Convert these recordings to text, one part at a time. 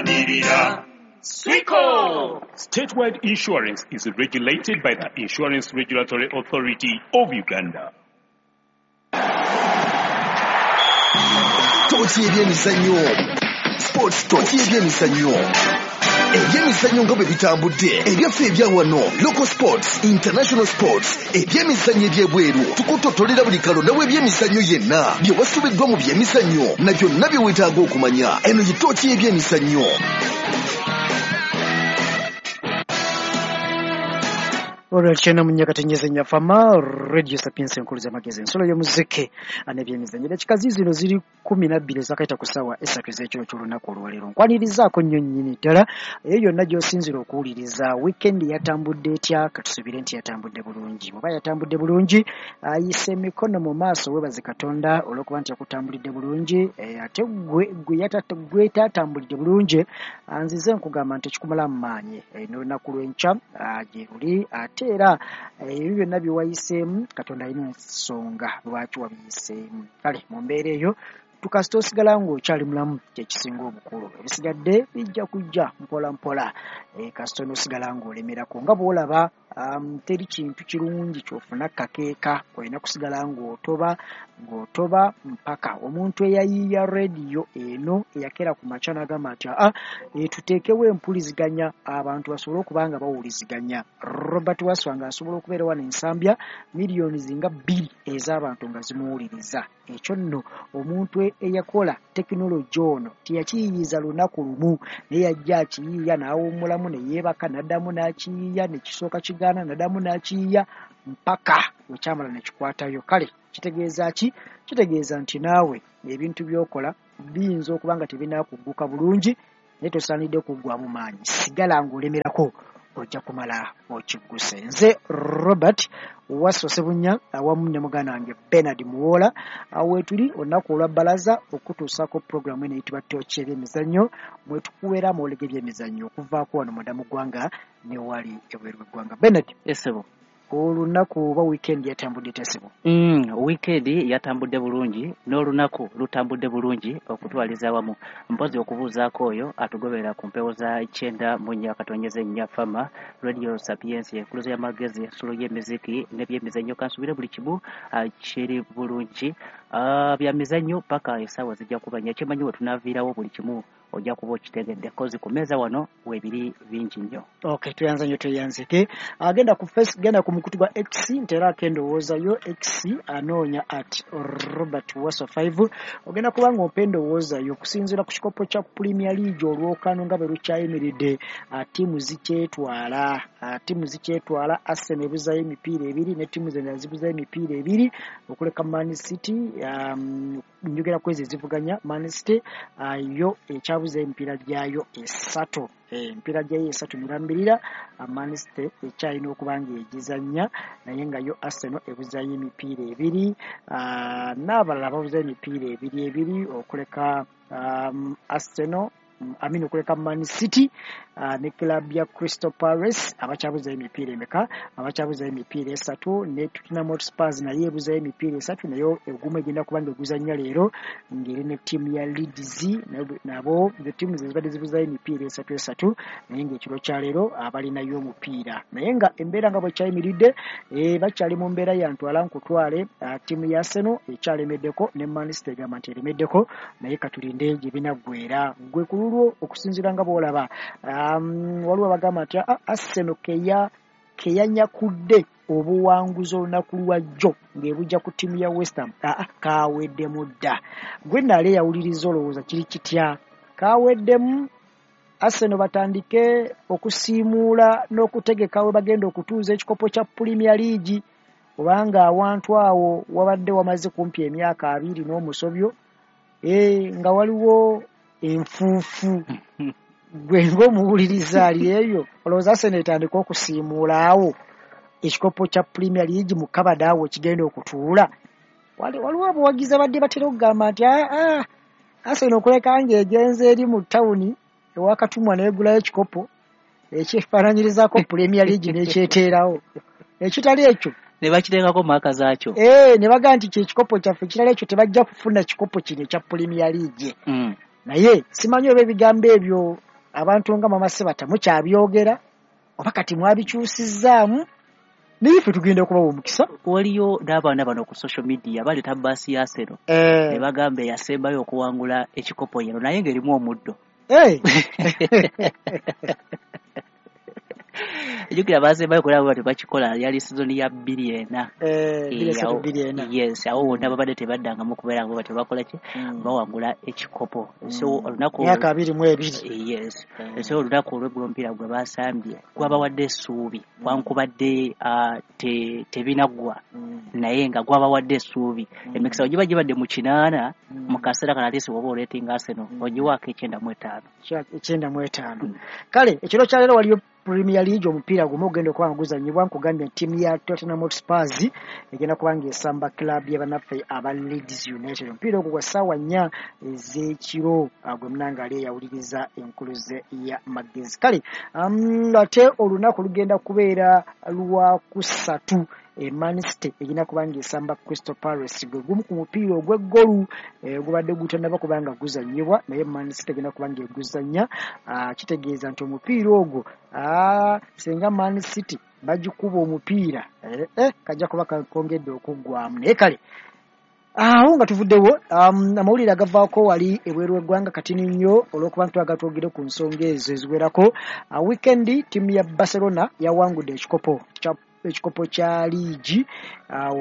Tulwanirira Swico. Statewide Insurance is regulated by the Insurance Regulatory Authority of Uganda. Tooki ebyemizannyo, Sports Talk ebyemizannyo, ebyemizannyo nga bwe bitambudde, ebyaffe ebya wano, local sports, international sports, ebyemizannyo ebyebweru, tukutotolera buli kalonda w'ebyemizannyo yenna, bye wasubiddwa mu byemizannyo na byonna bye weetaaga okumanya. Eno ye tooki y'ebyemizannyo. Olwa kyenda mu nyakatenyeza nyafama Radio Sapiens enkulu z'amagezi, ensolo y'omuzike n'ebyemizannyo. Dakika zino ziri 12 ezakaita ku ssaawa 3 ez'ekiro ky'olunaku olwaleero. Nkwanirizaako nnyo nnyini ddala eyo yonna gy'osinzira okuwuliriza. Weekend yatambudde etya? Katusubire nti yatambudde bulungi. Bw'oba yatambudde bulungi, ayise emikono mu maaso, weebaze Katonda olw'okuba nti yakutambulidde bulungi. Ate gwe tatambulidde bulungi, nzize nkugamba nti ekikumala mu maanyi n'olunaku lw'enkya gye luli. Ate era ebyo byonna bye wayiseemu, Katonda alina ensonga lwaki wabiyiseemu. Kale mu mbeera eyo tukasita osigala ng'okyali mulamu, kyekisinga obukulu. Ebisigadde bijja kujja mpola mpola. Kasita onoosigala ng'olemerako nga bw'olaba, teri kintu kirungi ky'ofuna kakeeka, olina kusigala ng'otoba ng'otoba mpaka omuntu eyayiiya rediyo eno eyakeera ku makya n'agamba nti aa, tuteekewo empuliziganya abantu basobole okuba nga bawuliziganya. Robert Waswa ng'asobola okubeera wano Ensambya, miliyoni zinga 2 ez'abantu nga zimuwuliriza. Ekyo nno omuntu eyakola tekinologi ono teyakiyiiyiza lunaku lumu, naye yajja akiyiiya n'awummulamu ne yeebaka, n'addamu n'akiyiiya, ne kisooka kigaana, n'addamu n'akiyiiya mpaka bwe kyamala ne kikwatayo. Kale kitegeeza ki? Kitegeeza nti naawe ebintu by'okola biyinza okuba nga tebinaakugguka bulungi, naye tosaanidde kuggwamu maanyi. Sigala ng'olemerako, ojja kumala okigguse. Nze Robert Waswa Ssebunya awamu ne muganda wange Bernard Muwoola, weetuli olunaku olwa bbalaza okutuusaako pulogulaamu eno eyitibwa Tooki ebyemizannyo, mwe tukuweera amawulire g'ebyemizannyo okuvaako wano munda mu ggwanga ne wali ebweru w'eggwanga. Bernard, Esebo. Olunaku oba weekend yatambudde etya ssebo? Weekend yatambudde bulungi n'olunaku lutambudde bulungi okutwaliza awamu. Mpozi okubuuzaako oyo atugoberera ku mpewo za 94.4 Fama Radio Sapiens, enkuluzo y'amagezi, ensulo y'emiziki n'ebyemizannyo. Kansubire buli kimu kiri bulungi. Bya mizannyo paka essaawa zijja kuba nnya. Kyemanyi we tunaaviirawo buli kimu ojja kuba okitegedde, kozi ku mmeeza wano weebiri bingi nnyo. Okay, tweyanza nnyo, tweyanzike. Agenda ku face, genda ku mukutu gwa X, nteeraako endowooza yo. X anoonya at Robert Waswa 5, ogenda kuba ng'ompa endowooza yo okusinziira ku kikopo kya Premier League olwokano nga bwe lukyayimiridde. Ttiimu zikyetwala, ttiimu zikyetwala. Arsenal ebuzaayo emipiira ebiri ne ttiimu zendala zibuzayo emipiira ebiri okuleka Man City. Njogera ku ezo ezivuganya Man City, yo ekyabuza emipiira gyayo esatu, emipiira gyayo esatu mirambirira. Man City ekyalina okuba ng'egizannya, naye nga yo Arsenal ebuzaayo emipiira ebiri, n'abalala babuzayo emipiira ebiri ebiri okuleka Arsenal, amini okuleka Man City ne club ya Crystal Palace abakyabuzayo emipiira emeka? Abakyabuzayo emipiira esatu. Ne Tottenham Hotspur naye ebuzayo emipiira esatu, naye ogumu egenda kuba ng'eguzannya leero ng'eri ne ttiimu ya Leeds. Nabo ze ttiimu ze zibadde zibuzayo emipiira esatu esatu, naye ng'ekiro kya leero abalinayo omupiira. Naye nga embeera nga bwekyayimiridde, bakyali mu mbeera ya ntwala nkutwale. Ttiimu ya Arsenal ekyalemeddeko ne Man City egamba nti eremeddeko, naye katulinde gye binaggweera. Gwe ku lulwo okusinziira nga bw'olaba, waliwo abagamba nti Arsenal keyanyakudde obuwanguzi olunaku lwa jjo ng'ebujja ku ttiimu ya West Ham, kaweddemu dda. Gwe naali eyawuliriza olowooza kiri kitya? Kaweddemu, Arsenal batandike okusiimuula n'okutegeka we bagenda okutuuza ekikopo kya Premier League, kubanga awantu awo wabadde wamaze kumpi emyaka 20 n'omusobyo, nga waliwo enfuufu. Gwe ng'omuwuliriza ali eyo, olowooza Arsenal etandika okusiimuula awo ekikopo kya Premier League mu kabada awo kigenda okutuula? Waliwo abawagizi abadde batera okugamba nti Arsenal okuleka ng'egenze eri mu tawuni ewa Katumwa n'egulayo ekikopo ekyefaananyirizaako Premier League n'ekyeteerawo, ekitali ekyo ne bakiteekako maaka zaakyo. Ne bagamba nti kye kikopo kyaffe, ekirala ekyo tebajja kufuna kikopo kino ekya Premier League. Naye simanyi oba ebigambo ebyo Abantu nga Mama Sebata mukyabyogera oba kati mwabikyusizzaamu, naye ffe tugenda okubawa omukisa. Waliyo n'abaana bano ku social media baleeta baasi ya Arsenal ne bagamba eyasembayo okuwangula ekikopo yeno, naye ng'erimu omuddo. Ejjukira basembayo kulaba bati bakikola yali sizoni ya 2004. Yes, awo wonna babadde tebaddangamu kubeera nga batyo bakola ki, bawangula ekikopo. So olunaku myaka 22. Yes, so olunaku olw'eggulo omupiira gwe basambye gwabawadde essuubi, wankubadde tebinaggwa, naye nga gwabawadde essuubi. Emikisa giba gibadde mu 8 mu kaseera kano, ate woba oleetinga Arsenal ogiwaako 95. 95. Kale ekiro kya leero waliyo Premier League omupiira gumu ogenda okuba nga guzannyibwa. Nkugambye ttiimu ya Tottenham Hotspur egenda kuba nga esamba club y'abannaffe aba Leeds United. Omupiira ogwo gwa ssaawa 4 ez'ekiro, gwe munange ali eyawuliriza enkuluze ya magezi. Kale ate olunaku lugenda kubeera lwakusatu, Man City egenda kuba nga esamba Crystal Palace, gwe gumu ku mupiira ogw'eggolu gubadde gutannaba kuba nga guzannyibwa, naye Man City egenda kuba nga eguzannya. Kitegeeza nti omupiira ogwo singa Man City bagikuba omupiira kajja kuba kakongedde okuggwamu. Naye kale awo nga tuvuddewo, amawulire agavaako wali ebweru w'eggwanga katini nnyo olw'okuba nti twagala twogere ku nsonga ezo eziwerako. Weekend ttiimu ya Barcelona yawangudde ekikopo kya liigi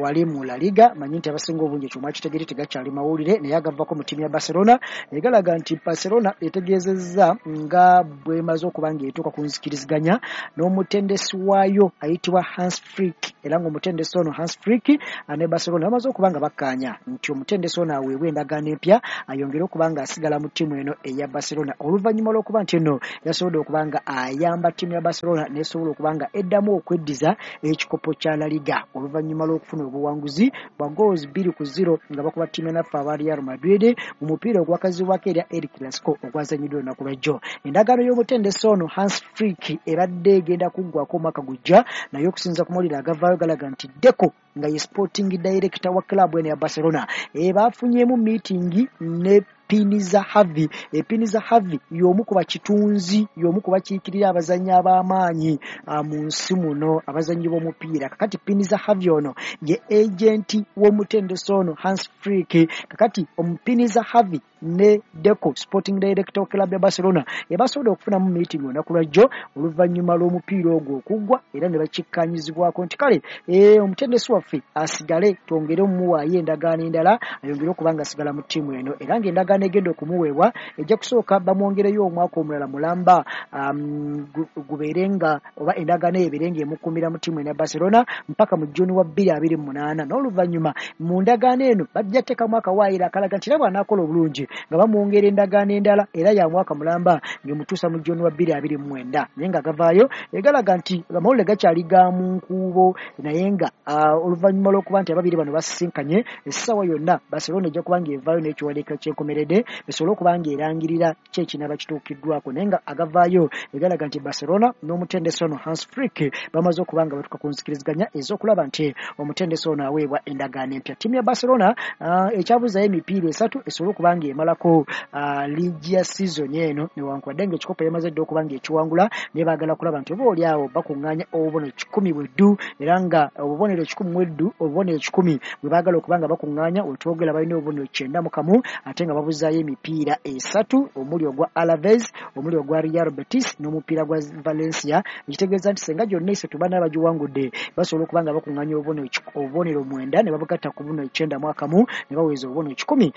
wali mu La Liga. Manyi nti abasinga obungi ekyo mwakitegere, tegakyali mawulire, naye agavako mu ttiimu ya Barcelona egalaga nti Barcelona etegeezezza nga bw'emaze okuba ng'etuuka ku nzikiriziganya n'omutendesi waayo ayitibwa Hans Flick, era ng'omutendesi ono Hans Flick ne Barcelona bamaze okuba nga bakkaanya nti omutendesi ono aweebwe endagaano empya ayongere okuba ng'asigala mu ttiimu eno eya Barcelona, oluvannyuma lw'okuba nti eno yasobodde okuba nga ayamba ttiimu ya Barcelona n'esobola okuba nga eddamu okweddiza ekikopo kya La Liga oluvannyuma lw'okufuna obuwanguzi bwa goals 2-0 nga bakuba ttiimu naffe aba Real Madrid mu mupiira ogwakazibwako erya El Clasico ogwazanyiddwa olunaku lwajjo. Endagaano y'omutendesi ono Hans Flick ebadde egenda kuggwako omwaka gujja, naye okusinziira ku mawulire agavaayo galaga nti Deco nga ye sporting director wa club eno ya Barcelona bafunyeemu meeting ne Piniza Harvey. Piniza Harvey y'omu ku bakitunzi, y'omu ku bakiikirira abazannyi ab'amaanyi mu nsi muno, abazannyi b'omupiira. Kakati Piniza Harvey ono ye agenti w'omutendesi ono Hans Flick. Kakati Piniza Harvey ne Deco sporting director wa club ya Barcelona ebasobodde okufunamu meeting olunaku lwajjo oluvannyuma lw'omupiira ogwo okuggwa, era ne bakikkanyizibwako nti kale omutendesi waffe asigale twongere omumuwaayo endagaano endala ayongere okuba nga asigala mu ttiimu eno, era ng'endagaano egenda okumuweebwa ejja kusooka bamwongereyo omwaka omulala mulamba, gubeere nga oba endagaano eyo ebeere ng'emukuumira mu ttiimu eno ya Barcelona mpaka mu June wa 2028. N'oluvannyuma mu ndagaano eno bajja teekamu akawaayiro akalaga nti era bw'anaakola obulungi nga bamwongera endagaano endala era ya mwaka mulamba ng'emutuusa mu June wa 2029. Naye nga gavaayo egalaga nti amawulire gakyali ga mu nkuubo, naye nga oluvannyuma lw'okuba nti ababiri bano basisinkanye essaawa yonna Barcelona ejja kuba ng'evaayo n'ekiwandiiko ky'enkomeredde esobole okuba ng'erangirira ki ekinaaba kituukiddwako. Naye nga agavaayo egalaga nti Barcelona n'omutendesi ono Hans Flick bamaze okuba nga batuuka ku nzikiriziganya ez'okulaba nti omutendesi ono aweebwa endagaano empya. Ttiimu ya Barcelona ekyabuzaayo emipiira 3 esobole okuba ng'emalako liigi ya season eno, newankubadde ng'ekikopo yamaze dda okuba ng'ekiwangula, naye baagala kulaba nti oba oli awo bakuŋŋaanya obubonero 100 bweddu, era nga obubonero 100 bweddu, obubonero 100 bwe baagala okuba nga bakuŋŋaanya. Wetwogera balina obubonero 91 ate nga babuzaayo emipiira 3, omuli ogwa Alaves, omuli ogwa Real Betis n'omupiira gwa Valencia, ekitegeeza nti senga gyonna 3 bana bagiwangudde basobola okuba nga bakuŋŋaanya obubonero 9 ne babugatta ku buno 91 ne baweza obubonero 100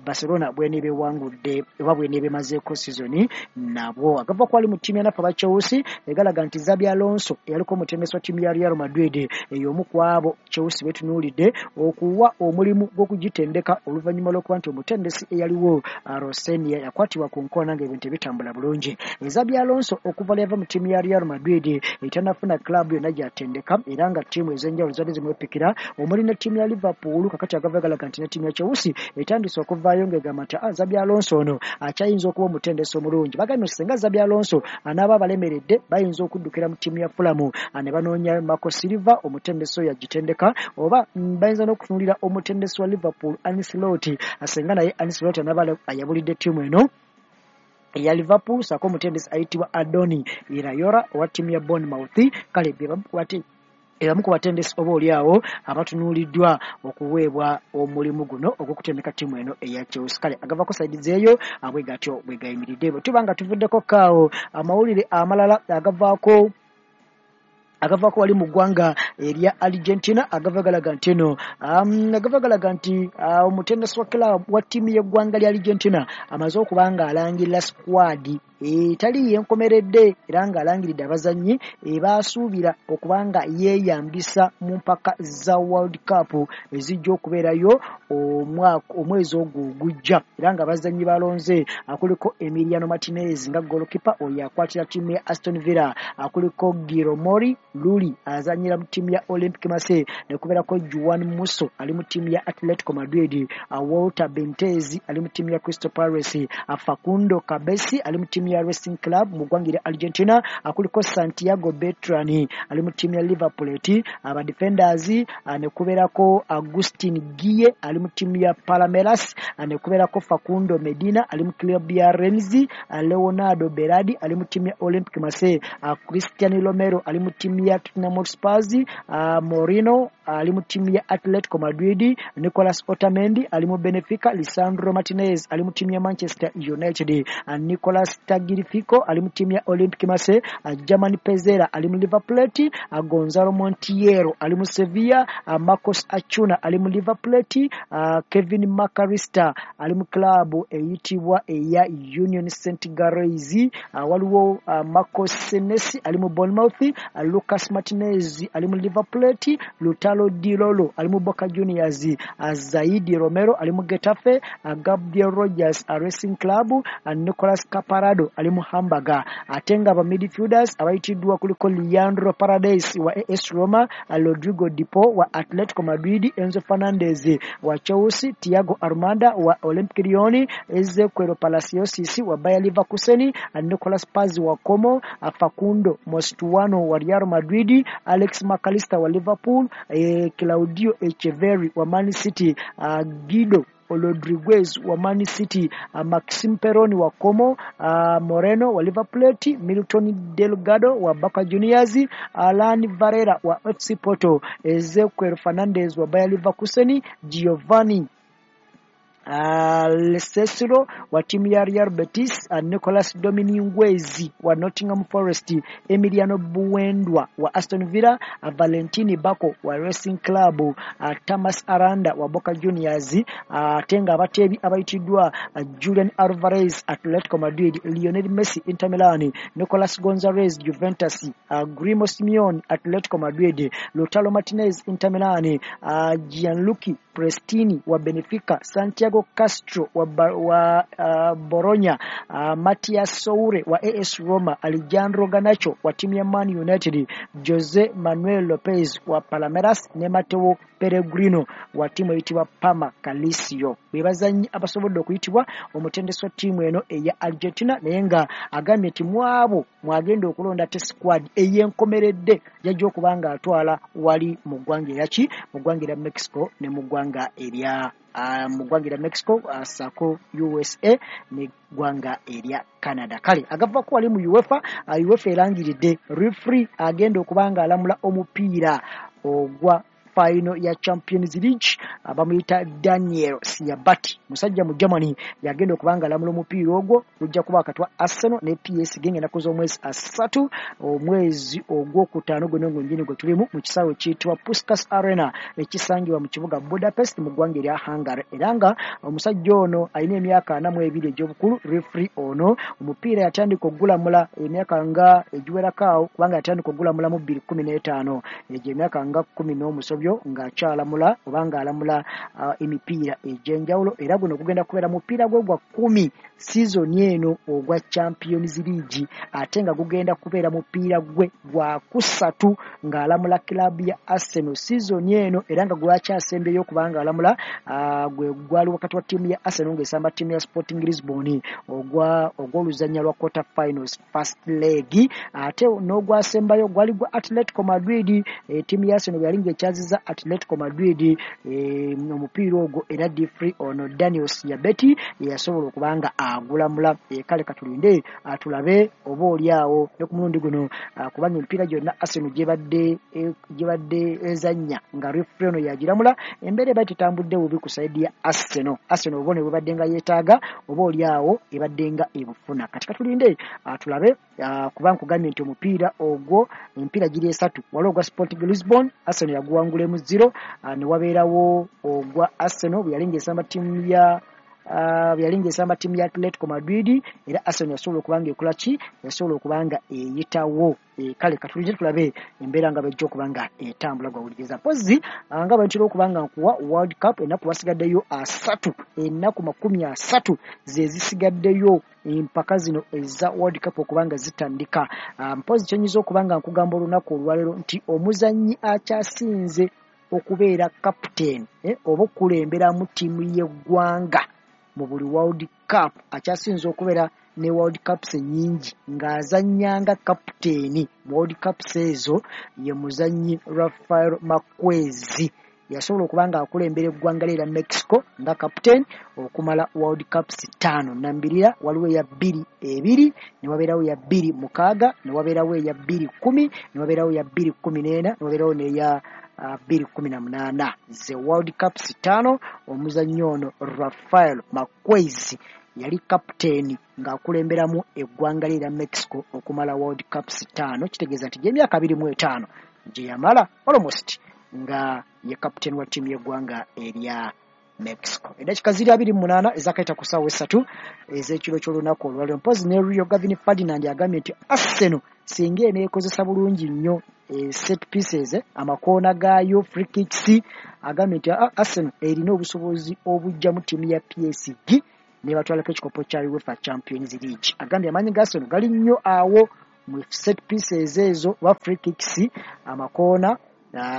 Barcelona bweneeba ewangudde oba bweneeba emazeeko sizoni nabwo. Agava kwali mu ttiimu ya naffe aba Chelsea egalaga nti Xabi Alonso eyaliko omutendesi wa ttiimu ya Real Madrid ey'omu ku abo Chelsea betunuulidde okuwa omulimu gw'okugitendeka oluvannyuma lw'okuba nti omutendesi eyaliwo Rosenia yakwatibwa ku nkoona ng'ebintu ebitambula bulungi. Xabi Alonso okuva lwe yava mu ttiimu ya Real Madrid etannafuna club yonna gy'atendeka, era nga ttiimu ez'enjawulo zaali zimwepikira omuli ne ttiimu ya Liverpool. Kakati agava galaga nti ne ttiimu ya Chelsea etandise okuvaayo ng'egamba nti Xabi Alonso ono akyayinza okuba omutendesi omulungi. Bagambye nti singa Xabi Alonso anaaba abalemeredde bayinza okuddukira mu ttiimu ya Fulham ne banoonya Marco Silva omutendesi oyo agitendeka, oba bayinza n'okutunuulira omutendesi wa Liverpool Ancelotti, asenga naye Ancelotti anaaba ayabulidde ttiimu eno eya Liverpool, ssaako omutendesi ayitibwa Adoni Iraola owa ttiimu ya Bournemouth. Kale ebamu ku batendesi oba oli awo abatunuuliddwa okuweebwa omulimu guno ogw'okutendeka ttiimu eno eya Chelsea. Kale agavako side zeeyo bwe gatyo bwe gayimiridde. Bwe tuba nga tuvuddeko kaawo, amawulire amalala agavaako wali mu ggwanga erya Argentina agava galaga nti eno agava galaga nti omutendesi wa club wa ttiimu y'eggwanga lya Argentina amaze okuba nga alangirira squad etali yenkomeredde, era ng'alangiridde abazannyi ebasuubira okuba nga yeeyambisa mu mpaka za World Cup ezijja okubeerayo omwezi ogwo ogujja. Era ng'abazannyi balonze kuliko Emiliano Martinez nga goalkeeper, oyo akwatira ttiimu ya Aston Villa, kuliko Guillermo Rulli azannyira mu ttiimu ya Olympique Marseille, ne kubeerako Juan Musso ali mu ttiimu ya Atletico Madrid, Walter Benitez ali mu ttiimu ya Crystal Palace, Facundo Cabesi ali mu ttiimu ya Racing Club mu ggwanga erya Argentina, kuliko Santiago Beltran ali mu ttiimu ya River Plate. Aba defenders ne kubeerako Agustin Guille ali mu ttiimu ya Palmeiras, ne kubeerako Facundo Medina ali mu club ya Rennes, Leonardo Berardi ali mu ttiimu ya Olympique Marseille, Christian Romero ali mu ttiimu ya Tottenham Hotspur, Moreno ali mu ttiimu ya Atletico Madrid, Nicolas Otamendi ali mu Benfica, Lisandro Martinez ali mu ttiimu ya Manchester United, Nicolas Tagliafico ali mu ttiimu ya Olympique Marseille, German Pezzella ali mu River Plate, Gonzalo Montiel ali mu Sevilla, Marcos Acuna ali mu River Plate, Kevin McAllister ali mu club eyitibwa eya Union Saint Gilloise, waliwo Marcos Senesi ali mu Bournemouth, Lucas Martinez ali mu River Plate, Lautaro Di Lollo ali mu Boca Juniors, Zaidi Romero ali mu Getafe, Gabriel Rogers Racing Club, Nicolas Caparado ali mu Hamburg. Ate nga aba midfielders abayitiddwa kuliko Leandro Paredes wa AS Roma, Rodrigo De Paul wa Atletico Madrid, Enzo Fernandez wa Chelsea, Thiago Almada wa Olympique Lyon, Ezequiel Palacios wa Bayer Leverkusen, Nicolas Paz wa Como, Facundo Mastantuono wa Real Madrid, Alex McAllister wa Liverpool, Claudio Echeverri wa Man City, Guido Rodriguez wa Man City, Maxim Peroni wa Como, Moreno wa River Plate, Milton Delgado wa Boca Juniors, Alan Varela wa FC Porto, Ezequiel Fernandez wa Bayer Leverkusen, Giovanni Lo Celso wa ttiimu ya Real Betis, Nicolas Dominguez wa Nottingham Forest, Emiliano Buendia wa Aston Villa, Valentini Bako wa Racing Club, Thomas Aranda wa Boca Juniors. Ate nga abateebi abayitiddwa Julian Alvarez Atletico Madrid, Lionel Messi Inter Milan, Nicolas Gonzalez Juventus, Guillermo Simeone Atletico Madrid, Lautaro Martinez Inter Milan, Gianluca Prestianni wa Benfica, Santiago Castro wa Bologna, Matias Soure wa AS Roma, Alejandro Garnacho wa ttiimu ya Man United, Jose Manuel Lopez wa Palmeiras ne Mateo Pellegrino wa ttiimu eyitibwa Parma Calcio. Be bazannyi abasobodde okuyitibwa omutendesi wa ttiimu eno eya Argentina, naye nga agambye nti mu abo mwagenda okulonda te squad ey'enkomeredde yajja okuba nga atwala wali mu ggwanga eryaki, mu ggwanga erya Mexico ne mu ggwanga erya Mexico ssaako USA n'eggwanga erya Canada. Kale agavako wali mu UEFA, UEFA erangiridde referee agenda okuba nga alamula omupiira ogwa final ya Champions League, bamuyita Daniel Siabati, musajja mu Germany, yagenda okuba nga alamula omupiira ogwo gujja kuba wakati wa Arsenal ne PSG ng'ennaku z'omwezi 3 omwezi ogwokutaano guno gwennyini gwe tulimu mu kisaawe kiyitibwa Puskas Arena ekisangibwa mu kibuga Budapest mu ggwanga erya Hungary. Era nga omusajja ono alina emyaka 42 egy'obukulu. Referee ono omupiira yatandika okugulamula emyaka nga egiwerako awo, kubanga yatandika okugulamula mu 2015, egyo emyaka nga 10 n'omusobyo ng'akyalamula oba ng'alamula emipiira egy'enjawulo. Era guno gugenda kubeera mupiira gwe gwa 10 sizoni eno ogwa Champions League, ate nga gugenda kubeera mupiira gwe gwa kusatu ng'alamula club ya Arsenal sizoni eno. Era nga gwakyasembyeyo okuba ng'alamula gwe gwali wakati wa ttiimu ya Arsenal ng'esamba ttiimu ya Sporting Lisbon ogwa ogw'oluzannya lwa quarter finals first leg, ate n'ogwasembayo gwali gwa Atletico Madrid, ttiimu ya Arsenal bwe yali ng'ekyazizza Yakwasizza Atletico Madrid omupiira ogwo, era referee ono Daniel Siabeti yasobola okuba nga agulamula. Kale katulinde tulabe oba oli awo ne ku mulundi guno, kubanga emipiira gyonna Arsenal gyebadde ezannya nga referee ono yagiramula, embeera ebadde tetambudde bubi ku side ya Arsenal. Arsenal obubonero bwebadde nga yeetaaga oba oli awo ebadde nga ebufuna. Kati katulinde tulabe, kuba nkugambye nti omupiira ogwo, emipiira giri esatu. Waliwo ogwa Sporting Lisbon, Arsenal yaguwangulemu 0, ne wabeerawo ogwa Arsenal bwe yali ng'esamba ttiimu ya bwe yali ng'esamba ttiimu ya Atletico Madrid, era Arsenal yasobola okuba nga ekola ki? Yasobola okuba nga eyitawo. Kale katulinde tulabe embeera nga bwejja okuba nga etambula. Gwawuliriza, mpozi nga bwe ntera okuba nga nkuwa World Cup, ennaku wasigaddeyo 30, ennaku 30 ze zisigaddeyo empaka zino eza World Cup okuba nga zitandika. Mpozi kyenyinza okuba nga nkugamba olunaku olwaleero nti omuzannyi akyasinze okubeera captain oba okukulemberamu ttiimu y'eggwanga mu buli World Cup, akyasinze okubeera ne World Cups ennyingi ng'azannyanga kapiteeni mu World Cups ezo, ye muzannyi Rafael Marquez. Yasobola okuba nga akulembera eggwanga lye erya Mexico nga kapiteeni okumala World Cups 5 nambirira. Waliwo eya 2002, ne wabeerawo eya 2006, ne wabeerawo eya 2010, ne wabeerawo eya 2014, ne wabeerawo n'eya 2018. Ze World Cups 5 omuzannyi ono Rafael Marquez yali kapiteeni ng'akulemberamu eggwanga lye erya Mexico okumala World Cups 5. Kitegeeza nti gy'emyaka 25 gye yamala almost nga ye kapiteeni wa ttiimu y'eggwanga erya Mexico. Eddakiika ziri 28 ezakayita ku ssaawa 3 ez'ekiro ky'olunaku olwaleero. Mpozi ne Rio Gavin Ferdinand agambye nti Arsenal singa eneekozesa bulungi nnyo set pieces, amakoona gaayo, free kicks, agambye nti Arsenal erina obusobozi obujjamu ttiimu ya PSG nebatwalako ekikopo kya UEFA Champions League. Agambye amaanyi ga Arsenal gali nnyo awo mu set pieces ezo oba free kicks, amakoona.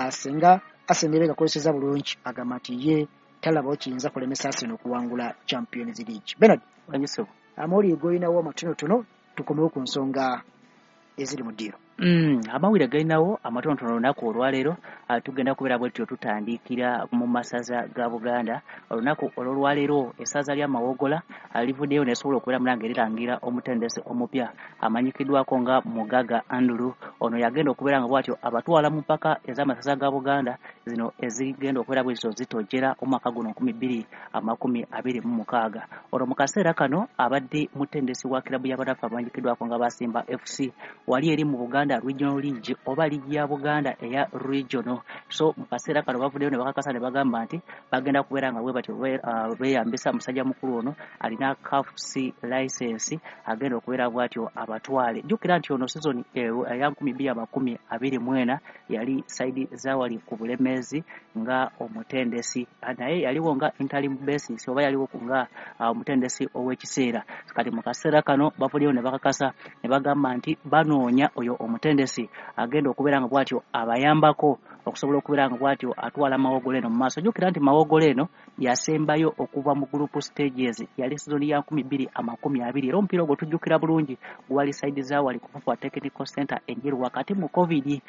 Singa Arsenal eba egakozeseza bulungi, agamba nti ye talabawo kiyinza kulemesa Arsenal okuwangula Champions League. Bernard, Wanyiso. Amawulire golinawo amatonotono, tukomewo ku nsonga eziri mu ddiiro. Amawulire galinawo amatonotono olunaku olwaleero, tugenda kubeera bwe tutyo tutandikira mu masaza ga Buganda. Olunaku olwolwaleero essaza lya Mawogola livuddeyo nesobola okubeera munange lirangira omutendesi omupya amanyikiddwako nga Mugaga Andrew. Ono yagenda okubeera nga bw'atyo abatwala mu mpaka ez'amasaza ga Buganda zino ezigenda okubeera bwe zityo zitojjera omwaka guno 2026. Ono mu kaseera kano abadde mutendesi wa kirabu y'abanafu abamanyikiddwako nga Basimba FC wali eri mu Buganda Regional League oba liigi ya Buganda eya regional. So mu kaseera kano bavuddeyo ne bakakasa ne bagamba nti bagenda kubeera nga bwe batyo beeyambisa musajja mukulu ono alina CAF C license agenda okubeera bw'atyo abatwale. Jjukira nti ono season eya 2024 yali side zawali ku Bulemeezi nga omutendesi, naye yaliwo nga interim basis oba yaliwo nga omutendesi ow'ekiseera. Kati mu kaseera kano bavuddeyo ne bakakasa ne bagamba nti banoonya oyo omutendesi agenda okubeera nga bw'atyo abayambako okusobola okubeera nga bw'atyo atwala Mawogola eno mu maaso. Jjukira nti Mawogola eno yasembayo okuva mu group stages yali season ya 2020, era omupiira ogwo tujjukira bulungi gwali side zawali ku Fufa Technical Center Enjeru wakati mu COVID.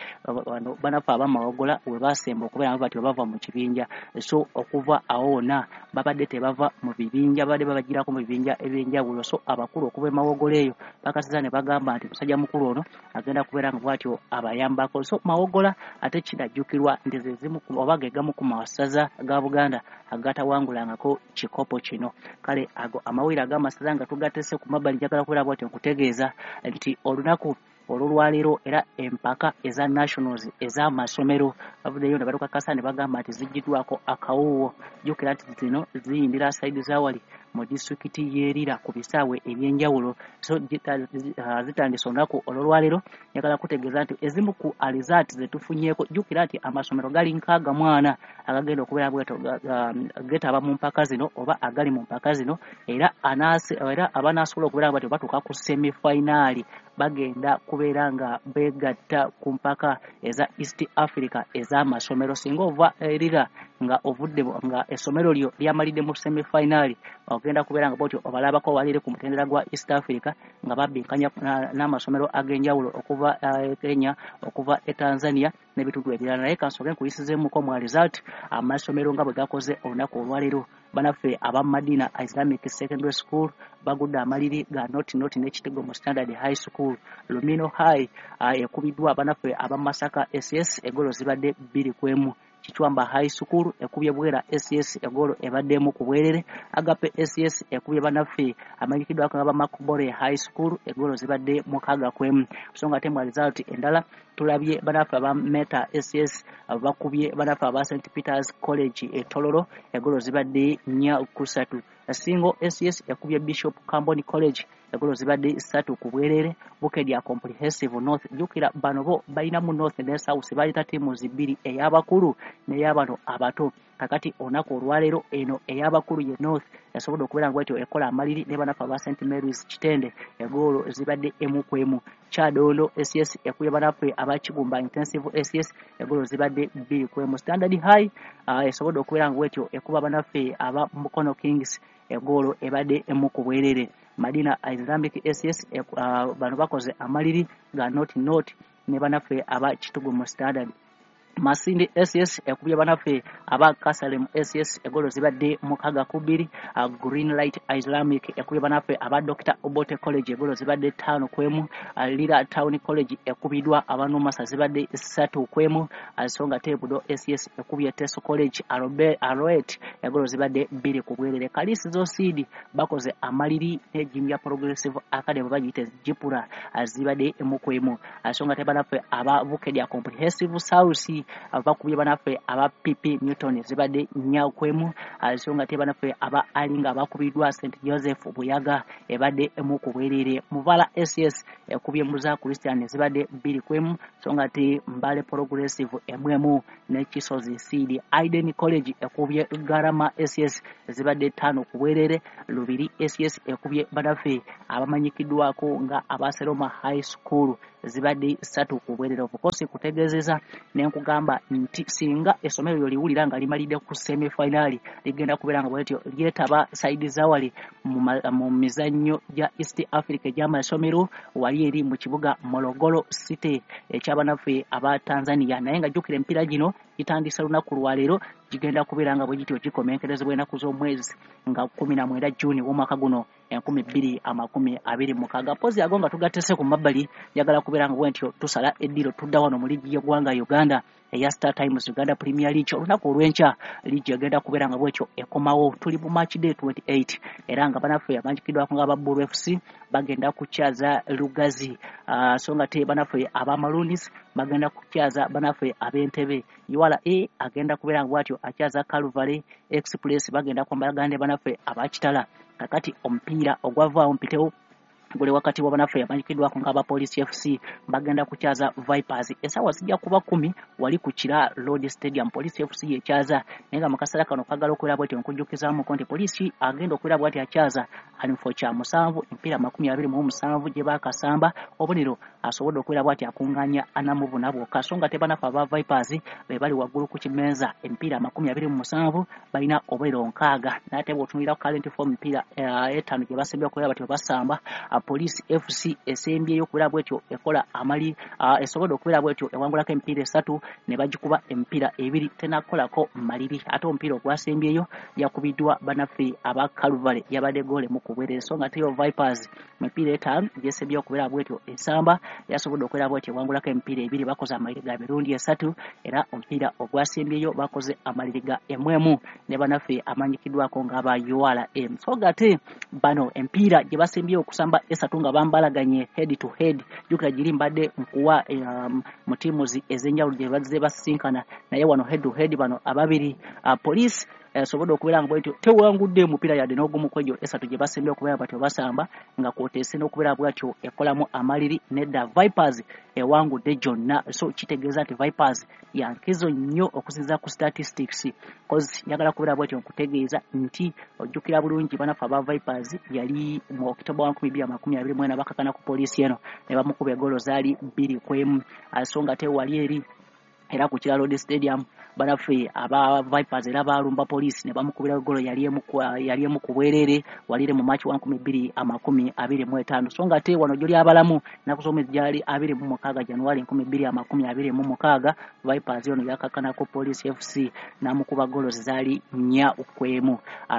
Bano banafu abamawogola we basemba okubeera nga batyo bava mu kibinja. So okuva awo wonna babadde tebava mu bibinja, babadde babagirako mu bibinja ebyenjawulo. So abakulu okuva e Mawogola eyo bakasiza ne bagamba nti musajja mukulu ono agenda kubeera nga bw'atyo abayambako. So Mawogola ate kinajjukirwa nti ze zimu oba ge gamu ku masaza ga Buganda agatawangulangako kikopo kino. Kale ago amawulire ag'amasaza nga tugatese ku mabbali, njagala kubeera bw'atyo nkutegeeza nti olunaku olwolwaleero era empaka eza nationals ez'amasomero bavuddeyo ne batukakasa ne bagamba nti ziggiddwako akawuuwo. Jjukira nti zino ziyindira side zawali mu disitulikiti y'Erira ku bisaawe ebyenjawulo. So zitandise olunaku olwolwaleero. Njagala kutegeeza nti ezimu ku alizaati ze tufunyeeko, jjukira nti amasomero gali 64 agagenda okubeera bweto getaba mu mpaka zino oba agali mu mpaka zino, era abanaasobola okubeera nga batyo batuuka ku semifinal Bagenda kubeera nga beegatta ku mpaka eza East Africa ez'amasomero. Singa ova erira nga ovudde nga essomero lyo lyamalidde mu semifinal, ogenda kubeera nga bwotyo obalabako walire ku mutendera gwa East Africa nga babbinkanya n'amasomero ag'enjawulo okuva Kenya, okuva e Tanzania n'ebitundu ebirala. Naye kansooke nkuyisizeemuko mu result amasomero nga bwe gakoze olunaku olwaleero. Banaffe aba Madina Islamic Secondary School bagudde amaliri ga 0-0 n'Ekitigo mu Standard High School. Lumino High ekubiddwa banaffe aba Masaka SS, egolo zibadde 2-1. Kichwamba High School ekubye Bwera SS, egolo ebadde emu ku bwerere. Agape SS ekubye banaffe amanyikiddwako nga ba Makubore High School, egolo zibadde 6-1. So nga ate mu result endala tulabye banaffe aba Meta SS bakubye banaffe aba St Peters College e Tororo, egolo zibadde 4-3. Singo SS ekubye Bishop Camboni College, egolo zibadde 3 ku bwerere. Bukedya Comprehensive North, jjukira bano bo balinamu North ne South, balina ttiimu bbiri, ey'abakulu n'ey'abano abato. Kakati olunaku olwaleero eno ey'abakulu ye North yasobodde okubeera nga bwetyo ekola amaliri ne banaffe aba St Marys Kitende, egoolo zibadde 1-1. Kyadondo SS ekubye banaffe aba Kigumba Intensive SS, egoolo zibadde 2-1. Standard High esobodde okubeera nga bwetyo ekuba banaffe aba Mukono Kings, egoolo ebadde 1 ku bwerere. Madina Islamic SS bano bakoze amaliri ga 0-0 ne banaffe aba Kitugumu Standard. Masindi SS ekubye banaffe aba Kasalem SS, egolo zibadde 6-2. Green Light Islamic ekubye banaffe aba Dr Obote College, egolo zibadde 5-1. Lira Town College ekubiddwa abanumasa, zibadde 3-1. So nga te Budo SS ekubye Teso College Aroet, egolo zibadde 2 ku bwerere. Kalisizo Seed bakoze amaliri ne Jinja Progressive Academy, bagiyite Jipura, zibadde 1-1. So nga te banaffe aba Bukedya Comprehensive South bakubye banaffe aba PP Newton, zibadde 4-1. So nga te banaffe aba Alinga bakubiddwa St Joseph Buyaga, ebadde 1 ku bwerere. Muvala SS ekubye Muza Christian, zibadde 2-1. So nga te Mbale Progressive 1-1 ne Kisozi Seed. Iden College ekubye Garama SS, zibadde 5 ku bwerere. Lubiri SS ekubye banaffe abamanyikiddwako nga Abaseroma High School, zibadde 3 ku bwerere. Obukosi kutegeezeza nenkugamba nti singa essomero lyo liwulira nga limalidde ku semifinal, ligenda kubeera nga bwetyo lyetaba side zawali mu mizannyo gya East Africa egy'amasomero wali eri mu kibuga Morogoro City ekyabanaffe aba Tanzania. Naye nga jjukira emipiira gino gitandise lunaku lwaleero, gigenda kubeera nga bwe gityo gikomenkerezebwa ennaku z'omwezi nga 19 Juni w'omwaka guno 2026. Pozi ago nga tugatese ku mabbali, njagala kubeera nga bwentyo tusala eddiiro tudda wano mu liigi y'eggwanga Uganda eya Star Times Uganda Premier League. Olunaku olw'enkya liigi egenda kubeera nga bwetyo ekomawo, tuli mu match day 28, era nga banaffe amanyikiddwako nga aba Bulu FC bagenda kukyaza Lugazi, so nga te banaffe aba Maroons bagenda kukyaza banaffe ab'Entebe. URA agenda kubeera nga bwatyo akyaza Calvary Express, bagenda kwambalagana ne banaffe abakitala. Kakati omupiira ogwavaawo mpitewo guli wakati wa banaffe amanyikiddwako nga aba Police FC bagenda kukyaza Vipers, essaawa zijja kuba 10 wali ku Kira Road Stadium. Police FC yekyaza, naye nga mu kaseera kano kagala okubeera bwetyo nkujjukizaamuko nti Poliisi agenda okubeera bwati akyaza ali mu kifo kya musanvu, emipiira 27 gye baakasamba, obubonero asobodde okubeera bwati akuŋŋaanya 44 bwokka. So nga tebanaffe aba Vipers be bali waggulu ku kimenza, emipiira 27, balina obubonero 60. Naye ate bw'otunuulira ku current form, emipiira etaano gye basembye okubeera bati basamba, Police FC esembyeyo okubeera bwetyo ekola amali, esobodde okubeera bwetyo ewangulako emipiira esatu ne bagikuba emipiira ebiri, tenakolako maliri. Ate omupiira ogwasembyeyo yakubiddwa banaffe aba Calvary, yabadde goal emu ku bwerere. So nga teyo Vipers mipiira etaano gyesembyeyo okubeera bwetyo esamba, yasobodde okubeera bwetyo ewangulako emipiira ebiri, bakoze amaliri ga mirundi esatu, era omupiira ogwasembyeyo bakoze amaliri ga 1-1 ne banaffe amanyikiddwako ng'aba URA. So gate bano emipiira gye basembyeyo okusamba esatu nga bambalaganye head to head, jjukira giri mbadde nkuwa mu ttiimu ez'enjawulo gye bazze basisinkana, naye wano head to head bano ababiri, Police Esobodde okubeera nga bwetyo tewangudde omupiira yadde n'ogumu ku egyo esatu gye basembye okubeera batyo basamba, nga kwoteese n'okubeera bwatyo ekolamu amaliri. Nedda, Vipers ewangudde gyonna, so kitegeeza nti Vipers yankizo nnyo okusinziira ku statistics, cause njagala kubeera bwatyo nkutegeeza nti ojjukira bulungi banafe aba Vipers yali mu October 2024 bakakana ku Poliisi eno ne bamukuba egolo zaali 2-1. So nga tewali eri era ku Kira Road Stadium banaffe aba Vipers era balumba Poliisi ne bamukubira golo yali emu ku bwerere walire mu March 2025. So nga ate wano gyoli abalamu ennaku z'omwezi gyali 26 January 2026, Vipers ono yakakkanako Police FC n'amukuba golo zaali 4-1.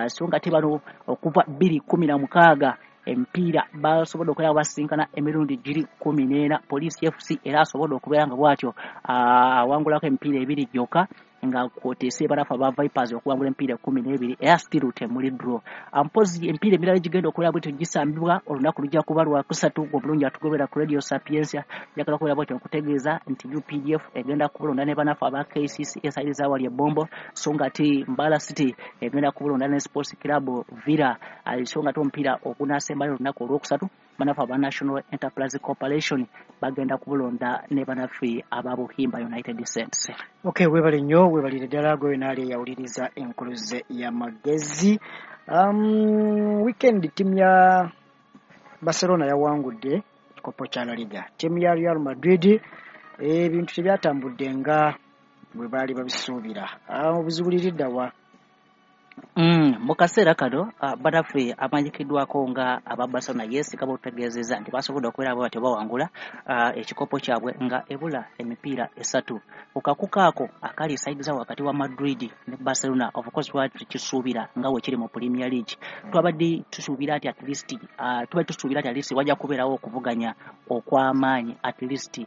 So nga ate bano okuva 2016 emipiira basobodde okubeera basinkana emirundi giri 14. Police FC era asobodde okubeera nga bw'atyo awangulako emipiira ebiri gyokka, nga kwoteese banafu aba Vipers okuwangula emipiira 12, era still temuli draw. Mpozi emipiira emirala egigenda okubeera bwetyo gisambibwa olunaku lujja kuba lwakusatu. Obulungi atugobera ku Radio Sapientia, njagala kubeera bwetyo nkutegeeza nti UPDF egenda kubulonda ne banafu aba KCC esayiri zawali ebombo, so nga ate Mbala City egenda kubulonda ne Sports Club Villa. So nga ate omupiira ogunaasembayo olunaku olwokusatu, banafu aba National Enterprise Corporation bagenda kubulonda ne banaffe aba Buhimba United Saints. Okay, webale nnyo, webalire ddala gwe naali eyawuliriza enkuluze y'amagezi. Weekend ttiimu ya Barcelona yawangudde ekikopo kya La Liga. Ttiimu ya Real Madrid ebintu tebyatambudde nga bwe baali babisuubira. Obuzibu liridda wa? Mu kaseera kano banaffe amanyikiddwako nga aba Barcelona yeesika botutegeezezza nti basobodde okubeera bwe batyo bawangula ekikopo kyabwe nga ebula emipiira esatu. Ku kakuka ako akali esaidiza wakati wa Madrid ne Barcelona, of course twali tukisuubira nga bwe kiri mu Premier League. Twabadde tusuubira nti at least tubadde tusuubira nti at least wajja kubeerawo okuvuganya okw'amaanyi, at least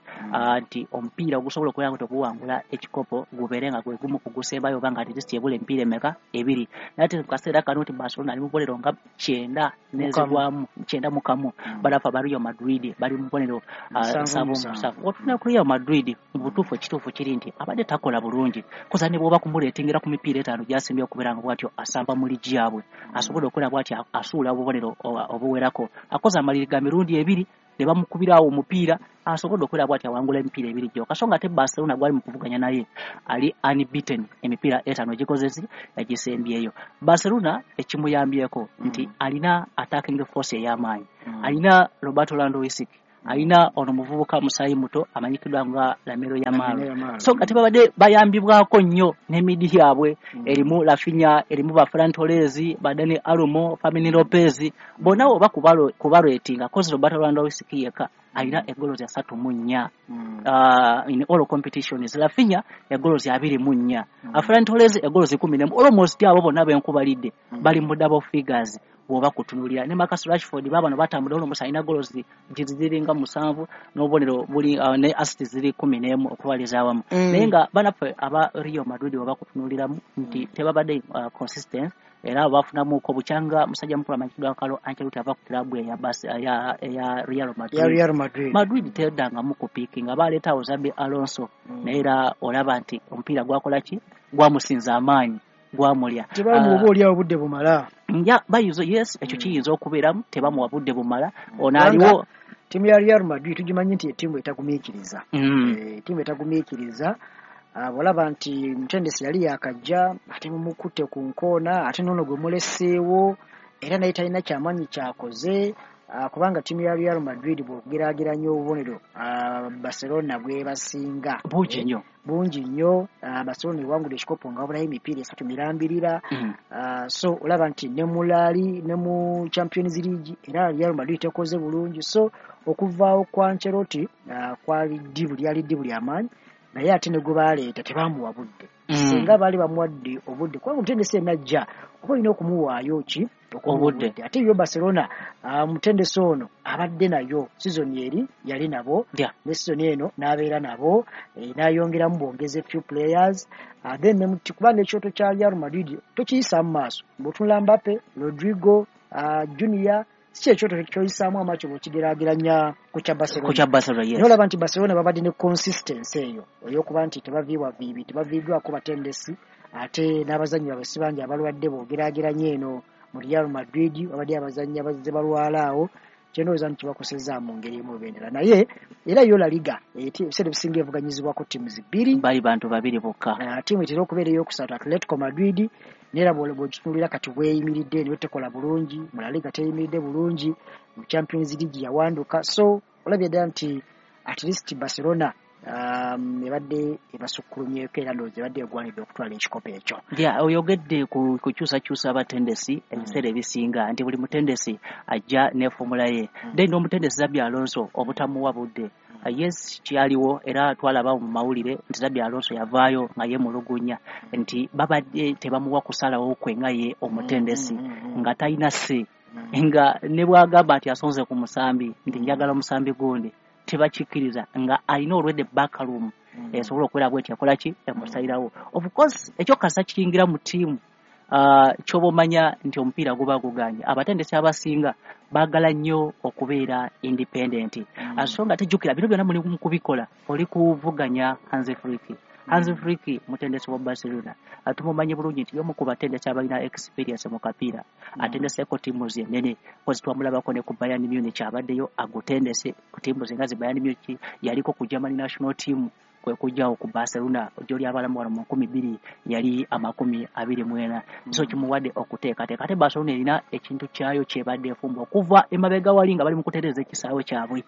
nti omupiira ogusobola okubeera nga teguwangula ekikopo gubeere nga gwe gumu ku gusembayo, oba nga at least ebula emipiira emeka? Ebiri. Naye ate mu kaseera kano nti Barcelona ali mu bubonero nga 90 n'ezigwamu 91, banafu aba Real Madrid bali mu bubonero 77. Otuna ku Real Madrid, mu butuufu ekituufu kiri nti abadde takola bulungi, koza ne bw'oba kumuleetingira ku mipiira etaano gy'asembye okubeera nga bw'atyo asamba mu ligi yaabwe, asobodde okubeera bw'atyo asuula obubonero obuwerako, akoze amaliri ga mirundi ebiri ne bamukubira awo omupiira, asobodde okubeera bw'atyo awangula emipiira ebiri gyokka. So nga ate Barcelona gwali mu kuvuganya naye ali unbeaten emipiira etaano egikozesi egisembyeyo. Barcelona ekimuyambyeko nti alina attacking force ey'amaanyi, alina Roberto Lewandowski, alina ono muvubuka musaayi muto amanyikiddwa nga Lamine Yamal. So nga tebabadde bayambibwako nnyo n'emidi yaabwe erimu Raphinha, erimu ba Ferran Torres, ba Dani Olmo, Fermin Lopez, bonna oba kubalwetinga kozi Roberto Lewandowski yekka alina egolo 34 in all competitions, Raphinha egolo 24, Ferran Torres egolo 11. Almost abo bonna benkubalidde bali mu double figures bw'oba kutunuulira. Ne Marcus Rashford baabano batambula, almost alina goals ziringa 7 n'obubonero buli ne assist ziri 11 okubaliza awamu. Naye nga banaffe aba Real Madrid bw'oba kutunuuliramu nti tebabadde consistent, era bafunamuko bukyanga musajja mukulu amanyikiddwa Carlo Ancelotti ava ku club eya Real Madrid. Ya Real Madrid. Madrid teddangamu kupiikinga, baleetawo Xabi Alonso, naye era olaba nti omupiira gwakola ki? Gwamusinza amaanyi, gwamulya. Tebamuwa oba oliawo obudde bumala. Nja bayinza, yes, ekyo kiyinza okubeeramu, tebamuwa budde bumala. Ono aliwo ttiimu ya Real Madrid tugimanyi nti ettiimu etagumiikiriza. Ttiimu etagumiikiriza. Bw'olaba nti mutendesi yali yakajja ate mumukutte ku nkoona, ate n'ono gwe muleseewo era naye talina kyamaanyi kyakoze, kubanga ttiimu ya Real Madrid bw'ogeraageranya obubonero Barcelona bwebasinga bungi nnyo, bungi nnyo. Barcelona ewangudde ekikopo nga wabulayo emipiira esatu mirambirira. So olaba nti ne mu Lali ne mu Champions League era Real Madrid tekoze bulungi. So okuvaawo kwa Ancelotti kwali ddibu, lyali ddibu lyamaanyi, naye ate ne gwe baleeta tebamuwa budde. Singa baali bamuwadde obudde, kubanga omutendesi yenna ajja oba olina okumuwaayo ki? Obudde. Ate yo Barcelona omutendesi ono abadde nayo season eri yali nabo, ne season eno n'abeera nabo, n'ayongeramu bwongeze few players, then kuba n'ekyoto kya Real Madrid tokiyisaamu maaso. Bw'otunula Mbappe, Rodrigo, Junior, si kyekyoto kyoyisaamu amaaso bw'okigeraageranya ku kya Barcelona. Ku kya Barcelona, yes. Naye olaba nti Barcelona babadde ne consistency eyo ey'okuba nti tebaviibwa viibi, tebaviiddwako batendesi, Ate n'abazannyi baabwe si bangi abalwadde bw'ogeraageranya eno mu Real Madrid babadde abazannyi abazze balwala awo, kyendowooza nti kibakosezza mu ngeri emu oba endala. Naye era yo La Liga ebiseera ebisinga evuganyizibwako ttiimu bbiri, bali bantu babiri bokka. Ttiimu etera okubeera eyokusatu Atletico Madrid, naye era bw'ogitunuulira kati bweyimiridde niyo tekola bulungi mu La Liga, teyimiridde bulungi mu Champions League yawanduka. So olabye ddala nti at least Barcelona ebadde ebasukkulumyeko era ndowooza ebadde egwanidde okutwala ekikopo ekyo. Ya, oyogedde ku kukyusakyusa abatendesi ebiseera ebisinga nti buli mutendesi ajja ne formula ye. Then n'omutendesi Xabi Alonso obutamuwa budde. Yes, kyaliwo era twalaba mu mawulire nti Xabi Alonso yavaayo nga yeemulugunya nti babadde tebamuwa kusalawo kwe nga ye omutendesi, nga talina se, nga ne bw'agamba nti asonze ku musambi nti njagala omusambi gundi tebakikkiriza, nga alina olwedde backroom esobola okubeera bweti akola ki emusalirawo. Of course ekyo kasa kiyingira mu ttiimu, kyoba omanya nti omupiira guba guganye. Abatendesi abasinga baagala nnyo okubeera independent. So nga tejjukira bino byonna muli mu kubikola oli kuvuganya Hansi Flick. Hansi Flick mutendesi wa Barcelona, tumumanyi bulungi nti y'omu ku batendesi abalina experience mu kapiira, atendeseeko ttiimu ennene, kozi twamulabako ne ku Bayern Munich abaddeyo agutendese ku ttiimu ze nga zi Bayern Munich, yaliko ku Germany national team, kwe kujjawo ku Barcelona gy'oli abalamu wano mu 2024. So kimuwadde okuteekateeka. Ate Barcelona erina ekintu kyayo kyebadde efumba okuva emabega wali nga bali mu kutereeza ekisaawe kyabwe.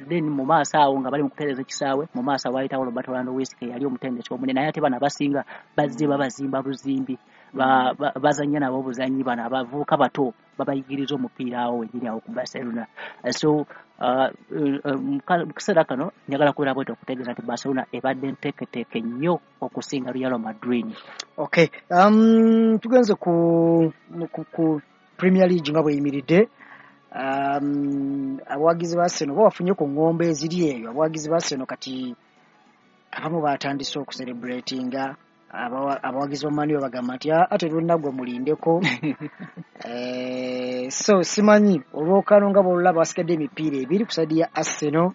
Then mu maaso awo nga bali mu kutereeza ekisaawe, mu maaso awo wayitawo Roberto Lewandowski yali omutendesi omunene, naye ate bano abasinga bazze babazimba buzimbi, bazannya nabo obuzannyi, bano abavubuka bato babayigiriza omupiira awo wennyini awo ku Barcelona. So mu kaseera kano njagala kubeera bwetyo okutegeeza nti Barcelona ebadde nteeketeeke nnyo okusinga Real Madrid. Okay, tugenze ku Premier League nga bweyimiridde. Abawagizi ba Arsenal bo bafunye ku ngombe eziri eyo. Abawagizi ba Arsenal kati abamu batandise okucelebratinga, abawagizi ba Man U bagamba nti ate lunaggwa mulindeko. So simanyi olwokano nga bw'olulaba basigadde emipiira ebiri ku side ya Arsenal,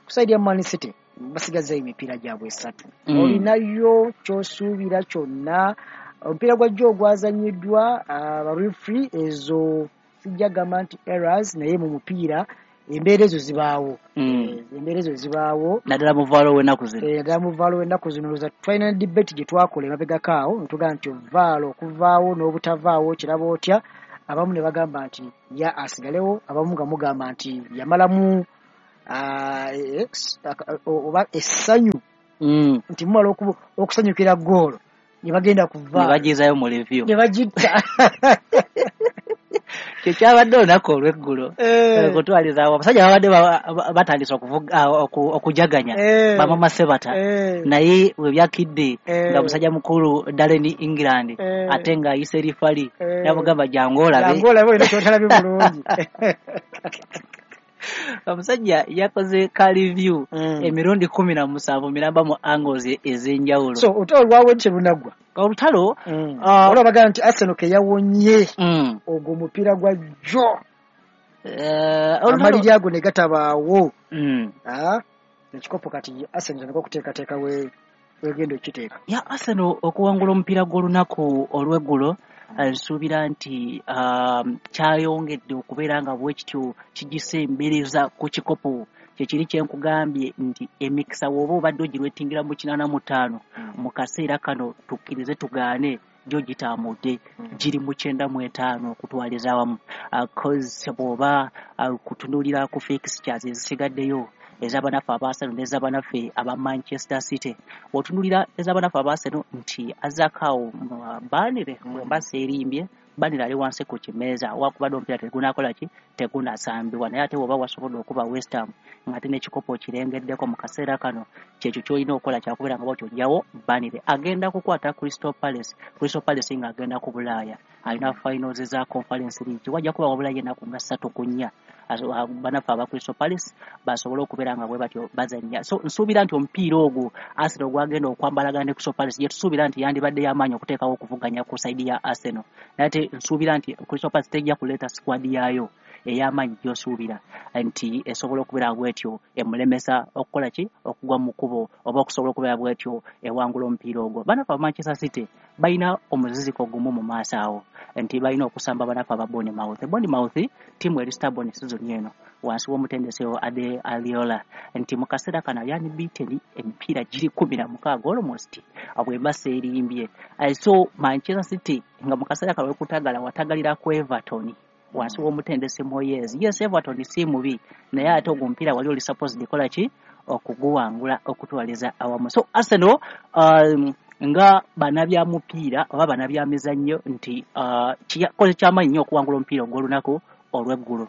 ku side ya Man City basigazzayo emipiira gyabwe esatu. Olinayo ky'osuubira kyonna? Omupiira gwa jjo ogwazannyiddwa, abarefri ezo sijja gamba nti errors, naye mu mupiira embeera ezo zibaawo. Embeera ezo zibaawo naddala mu VAR w'ennaku zino. Naddala mu VAR w'ennaku zino. Ndowooza twalina ne debate gye twakola emabegako awo ne tugamba nti VAR okuvaawo n'obutavaawo kiraba otya, abamu ne bagamba nti ya asigalewo, abamu nga mugamba nti yamalamu oba essanyu nti mumala okusanyukira ggoolo ne bagenda ku Ne VAR bagizaayo mu review ne bagitta. Kyekyabadde olunaku olw'eggulo. Okutwaliza awo abasajja babadde batandise okujaganya bamama Sebata, naye we byakidde nga musajja mukulu Darren England ate ng'ayise referee n'amugamba jangu olabe. Jangu olabe olina ky'otalabye bulungi. Omusajja yakoze ka review emirundi 17 miramba mu angles ez'enjawulo. So olutalo lwawe terunaggwa. Olutalo, Olwo bagamba nti Arsenal ke yawonye ogwo omupiira gwa jjo. Olutalo amaliri ago ne gatabaawo. Ekikopo kati Arsenal etandika okuteekateeka wegenda okukiteeka. Ya Arsenal okuwangula omupiira gw'olunaku olw'eggulo, nsuubira nti kyayongedde okubeera nga bwe kityo kigisembereza ku kikopo. Kyekiri kye nkugambye nti emikisa bw'oba obadde ogirwetingira mu 85, mu kaseera kano tukkirize tugaane gyo gitambudde giri mu 95 okutwaliza awamu. 'Cause bw'oba kutunuulira ku fixtures ezisigaddeyo ez'abanaffe aba Arsenal n'ez'abanaffe aba Manchester City, bw'otunuulira ez'abanaffe aba Arsenal nti azzaako Burnley, bwe mba seerimbye Burnley ali wansi ku kimeeza, wakubadde omupiira tegunakola ki, tegunasambibwa, naye ate bw'oba wasobodde okuba West Ham ng'ate n'ekikopo okirengeddeko mu kaseera kano, kyekyo ky'olina okukola kyakubeera nga bw'otyo ojjawo Burnley. Agenda kukwata Crystal Palace, Crystal Palace ng'agenda ku Bulaaya, alina finals za Conference League, wajja kuba wabulayo ennaku nga 3 ku 4 banaffe aba Crystal Palace basobole okubeera nga bwe batyo bazannya. So nsuubira nti omupiira ogwo Arsenal gwagenda okwambalagana ne Crystal Palace, gye tusuubira nti yandibadde y'amaanyi okuteekawo okuvuganya ku side ya Arsenal, naye ate nsuubira nti Crystal Palace tejja kuleeta squad yaayo ey'amaanyi gy'osuubira nti esobola okubeera bwetyo emulemesa okukola ki, okugwa mu kkubo oba okusobola okubeera bwetyo ewangula omupiira ogwo. Banafe aba Manchester City balina omuziziko gumu mu maaso awo nti balina okusamba banafe aba Bournemouth. Bournemouth ttiimu eri stubborn season eno wansi w'omutendesi Ade Aliola, nti mu kaseera kano ali unbeaten emipiira giri 16 almost bw'eba seerimbye. So Manchester City nga mu kaseera kano wekutagala watagalira ku Everton wansi w'omutendesi Moyes. Yes, Everton si mubi, naye ate ogwo omupiira wali oli supposed kola ki, okuguwangula okutwaliza awamu. So Arsenal nga bannabyamupiira oba bannabyamizannyo nti kikoze kyamaanyi nnyo okuwangula omupiira ogw'olunaku olw'eggulo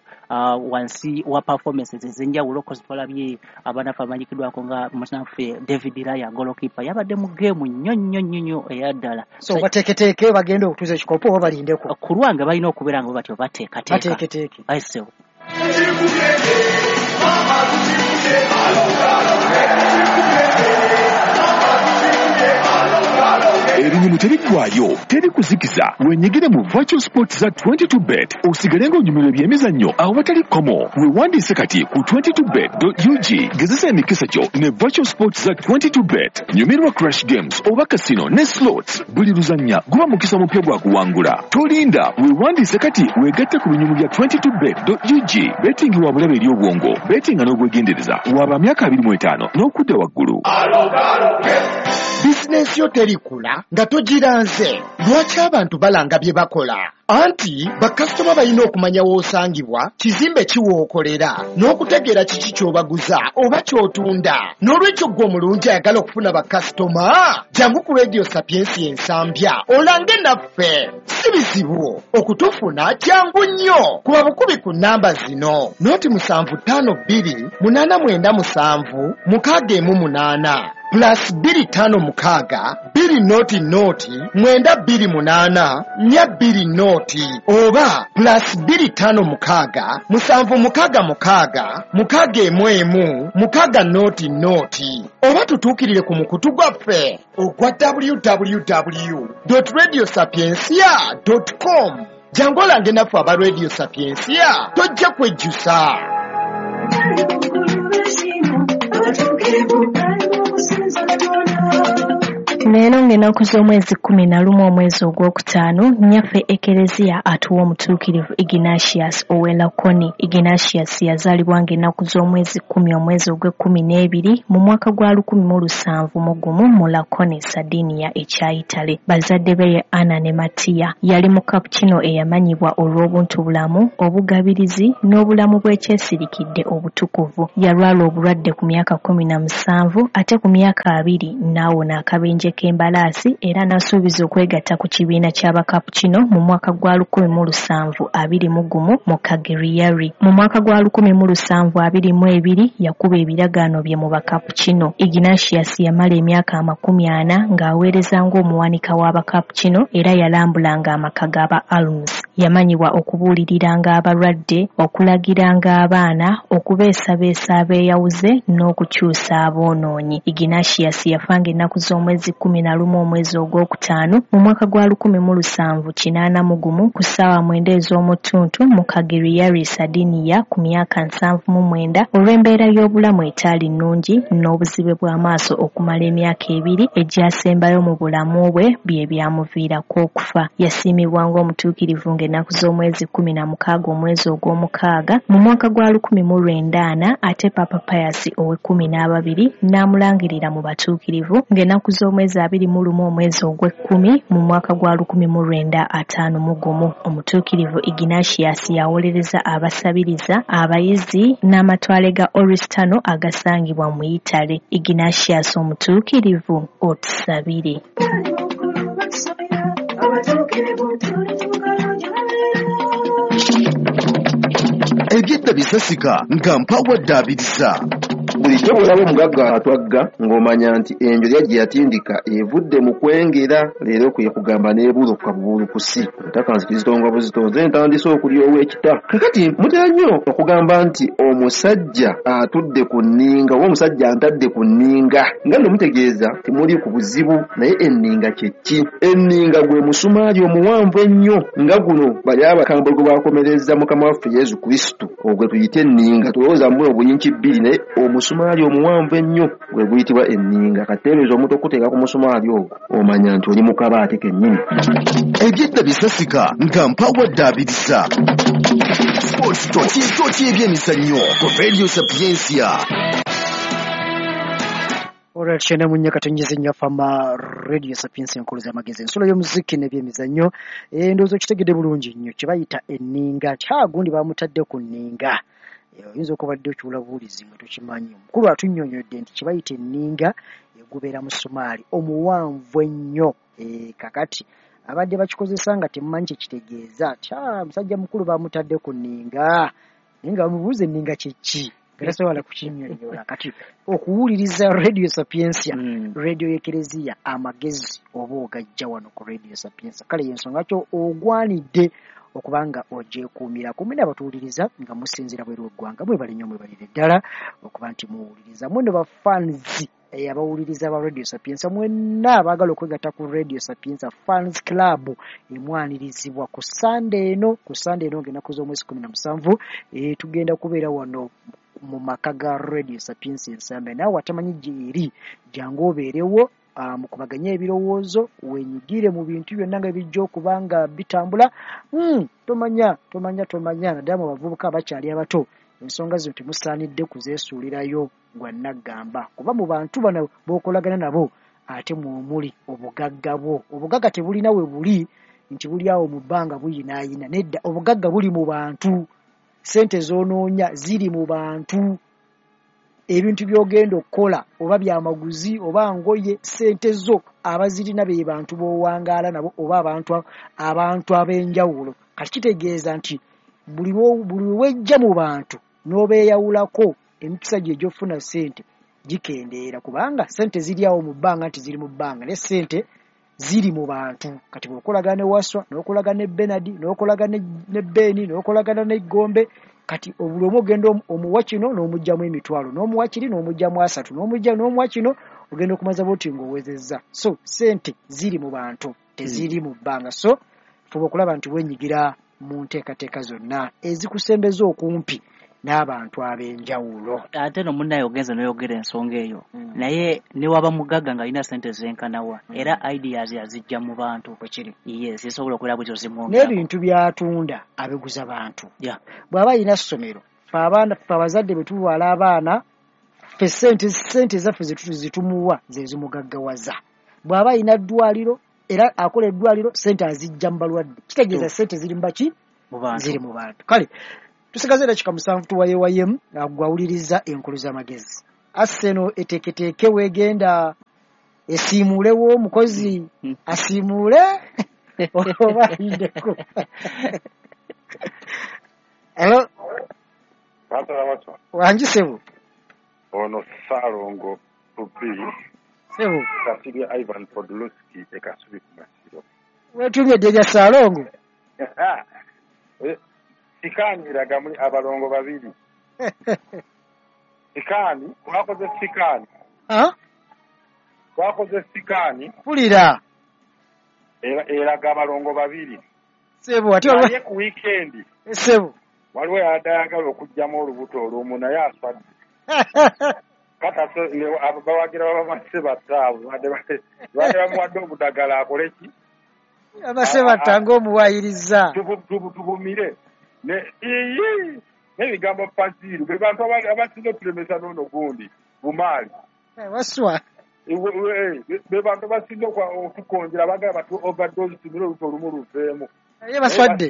wansi wa performances ez'enjawulo, kozi twalabye abanafe abamanyikiddwako nga munaffe David Raya, goalkeeper, yabadde mu geemu nnyo nnyo nnyo nnyo eya ddala. So bateeketeeke bagende okutuuza ekikopo oba balindeko? Ku lwange balina okubeera nga batyo bateekateeka. Bateeketeeke. Aye, Ebinyumu tebiggwayo, teri kuzikiza. Wenyigire mu virtual sports za 22bet osigale ng'onyumirwa ebyemizannyo awatali kkomo. Weewandiise kati ku 22bet.ug. Gezesa emikisa gyo ne virtual sports za 22bet. Nyumirwa crash games oba casino ne slots. Buli luzannya guba mukisa mupya gwa kuwangula. Tolinda, weewandiise kati weegatte ku binyumu bya 22bet.ug. Betting wa bulabe eri obwongo, bettinga n'obwegendereza. Waba myaka 25 n'okudda waggulu. Bizinensi yo terikula nga togiranze. Lwaki abantu balanga bye bakola? Anti bakasitoma balina okumanya w'osangibwa, kizimbe ki w'okolera, n'okutegeera kiki ky'obaguza oba ky'otunda. N'olwekyo ggwe omulungi ayagala okufuna bakasitoma, jangu ku Radio Sapiensia Ensambya olange naffe. Si bizibu okutufuna, kyangu nnyo. Kuba bukubi ku nnamba zino: 0 752 897 618, +256 200 928 420, oba +256 766 611 600, oba tutuukirire ku mukutu gwaffe ogwa www.radiosapiencia.com. Jangu olange naffe aba Radio Sapiencia, tojja kwejjusa. Leero ng'ennaku z'omwezi 11 omwezi ogwokutaano, nnyaffe Ekereziya atuwa omutuukirivu Ignatius ow'e Lakoni. Ignatius yazaalibwa ng'ennaku z'omwezi 10 omwezi ogw'ekkumi n'ebiri mu mwaka gwa 1701 mu Lakoni, Sardinia ekya Italy. Bazadde be ye Anna ne Matiya. Yali Mukapukino eyamanyibwa olw'obuntubulamu, obugabirizi n'obulamu bw'ekyesirikidde obutukuvu. Yalwala obulwadde ku myaka 17, ate ku myaka 20 n'awona akabenje k'embalaasi era n'asuubiza okwegatta ku kibiina ky'Abakapukino mu mwaka gwa 1721 mu Cagliari. Mu mwaka gwa 1722 yakuba ebiragaano bye mu Bakapukino. Ignatius yamala emyaka 40 ng'aweereza ng'omuwanika w'Abakapukino era yalambulanga amaka g'aba Alms. Yamanyibwa okubuuliriranga abalwadde, okulagiranga abaana, okubeesabeesa abeeyawuze n'okukyusa aboonoonyi. Ignatius yafanga ennaku z'omwezi 11 omwezi ogwokutaano mu mwaka gwa 1781 ku ssaawa 9 ez'omu ttuntu mu Cagliari, Sardinia, ku myaka 79 olw'embeera y'obulamu etaali nnungi n'obuzibe bw'amaaso okumala emyaka 2 egyasembayo mu bulamu bwe bye byamuviirako okufa. Yasiimibwa ng'omutuukirivu ng'ennaku z'omwezi 16 omwezi ogw'omukaaga mu mwaka gwa 1940, ate Papa Pius ow'ekkumi n'ababiri n'amulangirira mu batuukirivu ng'ennaku z'omwezi 21 omwezi ogw'ekkumi mu mwaka gwa 1951. Omutuukirivu Ignatius yawolereza abasabiriza, abayizi n'amatwale ga Oristano agasangibwa mu Italy. Ignatius omutuukirivu, otusabire. Ebyedda bisasika nga mpawadde abiriza. Bulijjo bw'olaba omugagga atwagga ng'omanya nti enjolya gye yatindika evudde mu kwengera, leero kwe kugamba n'ebuuluka bubuulukusi. Ntaka nzikizitonga buzito, nze ntandise okulyowa ekita. Kakati mutera nnyo okugamba nti omusajja atudde ku nninga oba omusajja antadde ku nninga, nga nno mutegeeza timuli ku buzibu. Naye enninga kye ki? Enninga gwe musumaali omuwanvu ennyo nga guno bali abakambwe gwe bakomereza Mukama waffe Yesu Kristo, ogwe tuyite enninga. Tulowooza mu obuyinki bbiri, naye omusumaali omuwanvu ennyo gwe guyitibwa enninga. Kateebereza omuntu okuteeka ku musumaali ogwo, omanya nti oli mu kabaate kennyini. Ebyedda bisasika nga mpawadde abiriza. Sports Toki ebyemizannyo ku Radio Sapientia. Olwa 94 Fama Radio Sapientia, enkulu z'amagezi, ensulo y'omuziki n'ebyemizannyo. Ndowooza okitegedde bulungi nnyo kye bayita enninga. Kyagundi bamutadde ku nninga. Oyinza okubadde okiwula buwulizi nga tokimanyi. Omukulu atunnyonnyodde nti kye bayita enninga egubeera musumaali omuwanvu ennyo. Kakati abadde bakikozesa nga temumanyi kye kitegeeza, tya musajja mukulu bamutadde ku nninga, naye nga bamubuuza enninga kye ki, nga tasobola kukinnyonnyola. Kati okuwuliriza Radio Sapientia, radio y'Ekereziya, amagezi oba ogajja wano ku Radio Sapientia. Kale yensonga kyo ogwanidde okuba nga ogyekuumira kumwe n'abatuwuliriza nga musinziira bweru w'eggwanga. Mwebale nnyo, mwebalire ddala okuba nti muwuliriza. Mweno bafans abawuliriza ba Radio Sapientia mwenna abaagala okwegatta ku Radio Sapientia Fans Club, emwanirizibwa ku Sande eno, ku Sande eno ng'ennaku z'omwezi 17, tugenda kubeera wano mu maka ga Radio Sapientia Ensambya. Naawe atamanyi gyeri, jangu obeerewo, mukubaganye ebirowoozo, wenyigire mu bintu byonna nga bijja okuba nga bitambula. Tomanya, tomanya, tomanya, naddala mu bavubuka abakyali abato, ensonga zino temusaanidde kuzeesuulirayo gwa naggamba, kuba mu bantu bano b'okolagana nabo ate mwomuli obugagga bwo. Obugagga tebulina we buli nti buli awo mu bbanga buyinaayina, nedda, obugagga buli mu bantu. Ssente z'onoonya ziri mu bantu. Ebintu by'ogenda okukola oba byamaguzi oba ngoye, ssente zo abazirina be bantu b'owangaala nabo oba abantu ab'enjawulo. Kati kitegeeza nti buli lwe wejja mu bantu n'obeeyawulako, emikisa gyo egy'okufuna ssente gikendeera, kubanga ssente ziri awo mu bbanga nti ziri mu bbanga, naye ssente ziri mu bantu. Kati bw'okolagana ne Waswa, n'okolagana ne Benard, n'okolagana ne Beni, n'okolagana ne Gombe, kati buli omu ogenda omuwa kino n'omuggyamu emitwalo, n'omuwa kiri n'omuggyamu asatu, n'omujja n'omuwa kino, ogenda okumaza bw'oti ng'owezezza. So ssente ziri mu bantu, teziri mu bbanga. So fuba okulaba nti wenyigira mu nteekateeka zonna ezikusembeza okumpi n'abantu ab'enjawulo. Ate no munnaye ogenze n'oyogera ensonga eyo, naye ne waba mugagga ng'alina ssente zenkanawa, era ideas azijja mu bantu. Bwekiri. Yes, zisobola okubeera bwetyo zimwongerako. N'ebintu by'atunda abiguza bantu. Bw'aba alina ssomero, ffe abaana, ffe abazadde bwe tulwala abaana, ffe ssente zaffe zitumuwa ze zimugaggawaza. Bw'aba alina ddwaliro, era akola eddwaliro, ssente azijja mu balwadde. Kitegeeza ssente ziri mu baki? Mu bantu. Ziri mu bantu. Kale tusigaze eddakiika 7 tuwayewayemu gwawuliriza enkulu z'amagezi. Arsenal eteeketeeke weegenda esiimuulewo omukozi, asiimuule oba ayiddeko. Hello, wangi ssebo? Ono Ssaalongo Tubi. Ssebo. Kasirye Ivan Podolski e Kasubi ku Masiro. Weetumye dde erya Ssaalongo? Sikaaniraga muli abalongo babiri. Sikaani, twakoze sikaani. Twakoze sikaani. Mpulira. Eraga abalongo babiri. Ssebo, ate Naye ku weekend. Ssebo. Waliwo yabadde ayagala okuggyamu olubuto olumu, naye aswadde. Kata bawagira babamase battaabo badde bamuwadde obudagala akole ki? Abase batta ng'omuwaayiriza. Tubumire. N'ebigambo Faziru be bantu abasinga otulemesa n'ono gundi Bumaali. Waswa. Be bantu abasinga okukonjera, baagala batu overdose tumire olubuto olumu luveemu. Naye baswadde.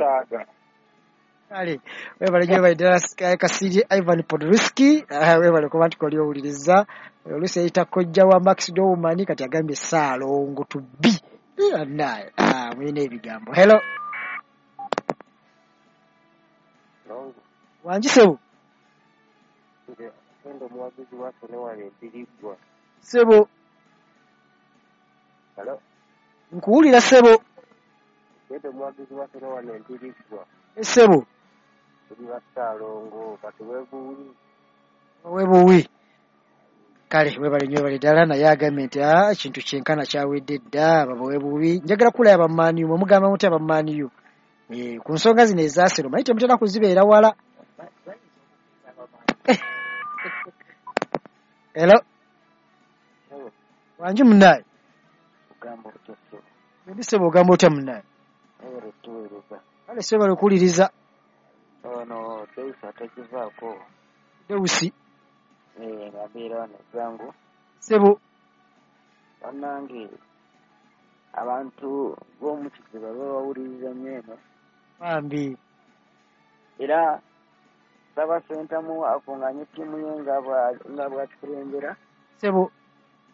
Kale webale nnyo, webale ddala Kasirye Ivan Podolski, webale kuba nti koli owuliriza. Oluusi eyita kojja wa Max Dowman, kati agambye Ssaalongo Tubi. Naye mulina ebigambo. Hello. Wangi ssebo? Endo omuwagizi waffe ne wano empiriggwa. Ssebo. Hello? Nkuwulira ssebo. Endo omuwagizi waffe ne wano empiriggwa. Ssebo. Tuli ba Ssaalongo katuwebuwi. Webuwi. Kale webale nnyo webale ddala, naye agambye nti ekintu kyenkana kyawedde dda, babawe bubi. Njagala kulaba abammaaniyu, mwe mugamba mutya abammaaniyu ku nsonga zino eza Arsenal, manyi temutera kuzibeera wala. Hello. Wangi munnaye. Ogamba otya ssebo? Ndi ssebo, ogamba otya munnaye? Webale tuweereza. Kale ssebo webale okuwuliriza. Ono Deusi atagivaako. Deusi. Abeera wano Zzango. Ssebo. Bannange abantu b'omu Kiziba babawuliriza nnyo eno. Bambi. Era nsaba Ssentamu akunganye ttiimu ye nga bw'atukulembera. Ssebo.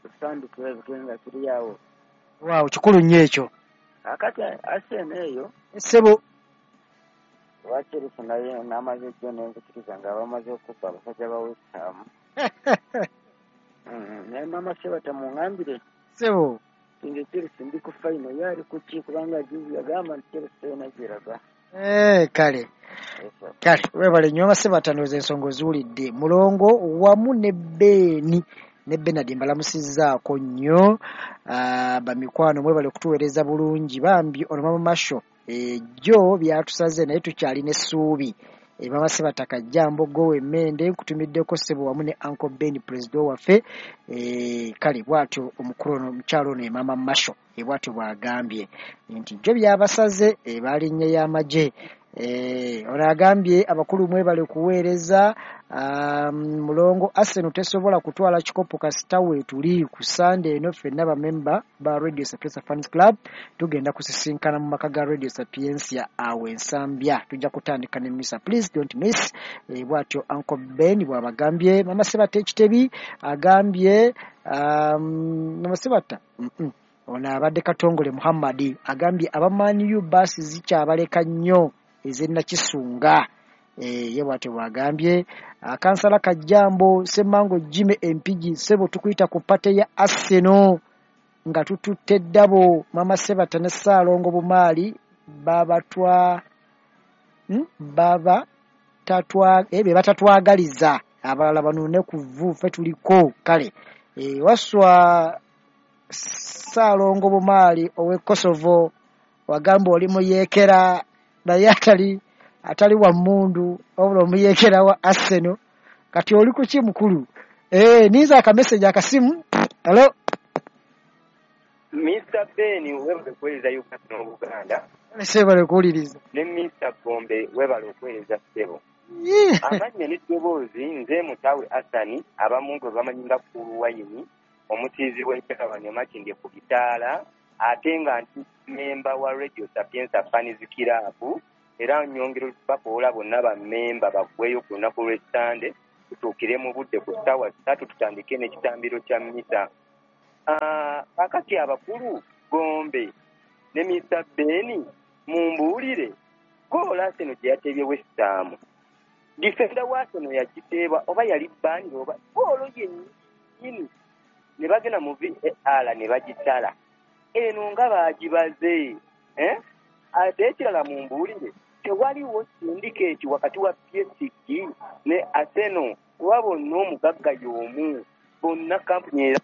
Tutandike ebitwe nga tuli awo. Waawo, kikulu nnyo ekyo. Kaakati Arsenal eyo. Ssebo. Owa Chelsea naye n'amaze jjo n'enzikiriza nga bamaze okubba abasajja ba West Ham. Naye maama Sebata muŋŋambire. Ssebo. Nze Chelsea ndi ku final, ye ali ku ki? Kubanga juzi yagamba nti Chelsea terina gy'eraga. Kale. Kale, weebale nnyo Maama Sebata, ndowooza ensonga oziwulidde. Mulongo wamu ne Beeni ne Bernard mbalamusizzaako nnyo. Bamikwano mwebale okutuweereza bulungi. Bambi ono Maama Masho ejjo byatusaze naye tukyalina essuubi. Maama Sebata Kajjambo gowe emmende nkutumiddeko ssebo wamu ne Uncle Ben president waffe. Kale bw'atyo omukulu ono omukyalo ono ye Maama Masho bw'atyo bw'agambye nti jjo byabasaze baalinnye y'amagye. Ono agambye abakulu mwebale kuweereza. Mulongo Arsenal tesobola kutwala kikopo kasita weetuli ku Sunday eno ffenna bamemba ba Radio Sapientia Fans Club tugenda kusisinkana mu maka ga Radio Sapientia awo Ensambya, tujja kutandika ne misa, please don't miss. Bw'atyo Uncle Ben bw'abagambye. Mama Sebata Ekitebi agambye Mama Sebata ono abadde Katongole Muhammad agambye abamaaniyu baasi zikyabaleka nnyo ez'ennakisunga. Ye bw'atyo bw'agambye. Kansala Kajjambo Ssemmango Jimmy Empigi ssebo tukuyita ku pate ya Arsenal nga tututte ddabo. Mama Sebata ne Ssaalongo Bumaali be batatwagaliza abalala banuune ku vvu ffe tuliko. Kale waswa Ssaalongo Bumaali ow'e Kosovo wagamba oli muyeekera naye atali wa mmundu wabula omuyeekera wa Arsenal. Kati oli ku ki mukulu? Ninza akameseji akasimu. Hello. Mr. Ben webale okuweereza Uganda n'Obuganda. Ssebo kuwuliriza. Ne Mr. Gombe webale okuweereza ssebo. Amannya n'eddoboozi nze Mutaawe Asani abamu gwe bamanyi nga Kulu Wayini omutiizi w'Enkyakabanya Makindye ku bitaala ate nga nti memba wa Radio Sapientia Fans Club. Era nnyongera bakoola bonna bammemba baggweyo ku lunaku lw'Essande tutuukire mu budde ku ssaawa 3 tutandike n'ekitambiro kya mmisa. Kaakati abakulu Gombe ne Mr. Ben mumbuulire goolo Arsenal gye yateebye West Ham. Defender wa Arsenal yagiteeba oba yali bani oba goolo yennyini ne bagenda mu VAR ne bagitala. Eno nga baagibaze. Ate ekirala mumbuulire tewaliwo syndicate wakati wa PSG ne Arsenal kuba bonna omugagga y'omu bonna kampuni era.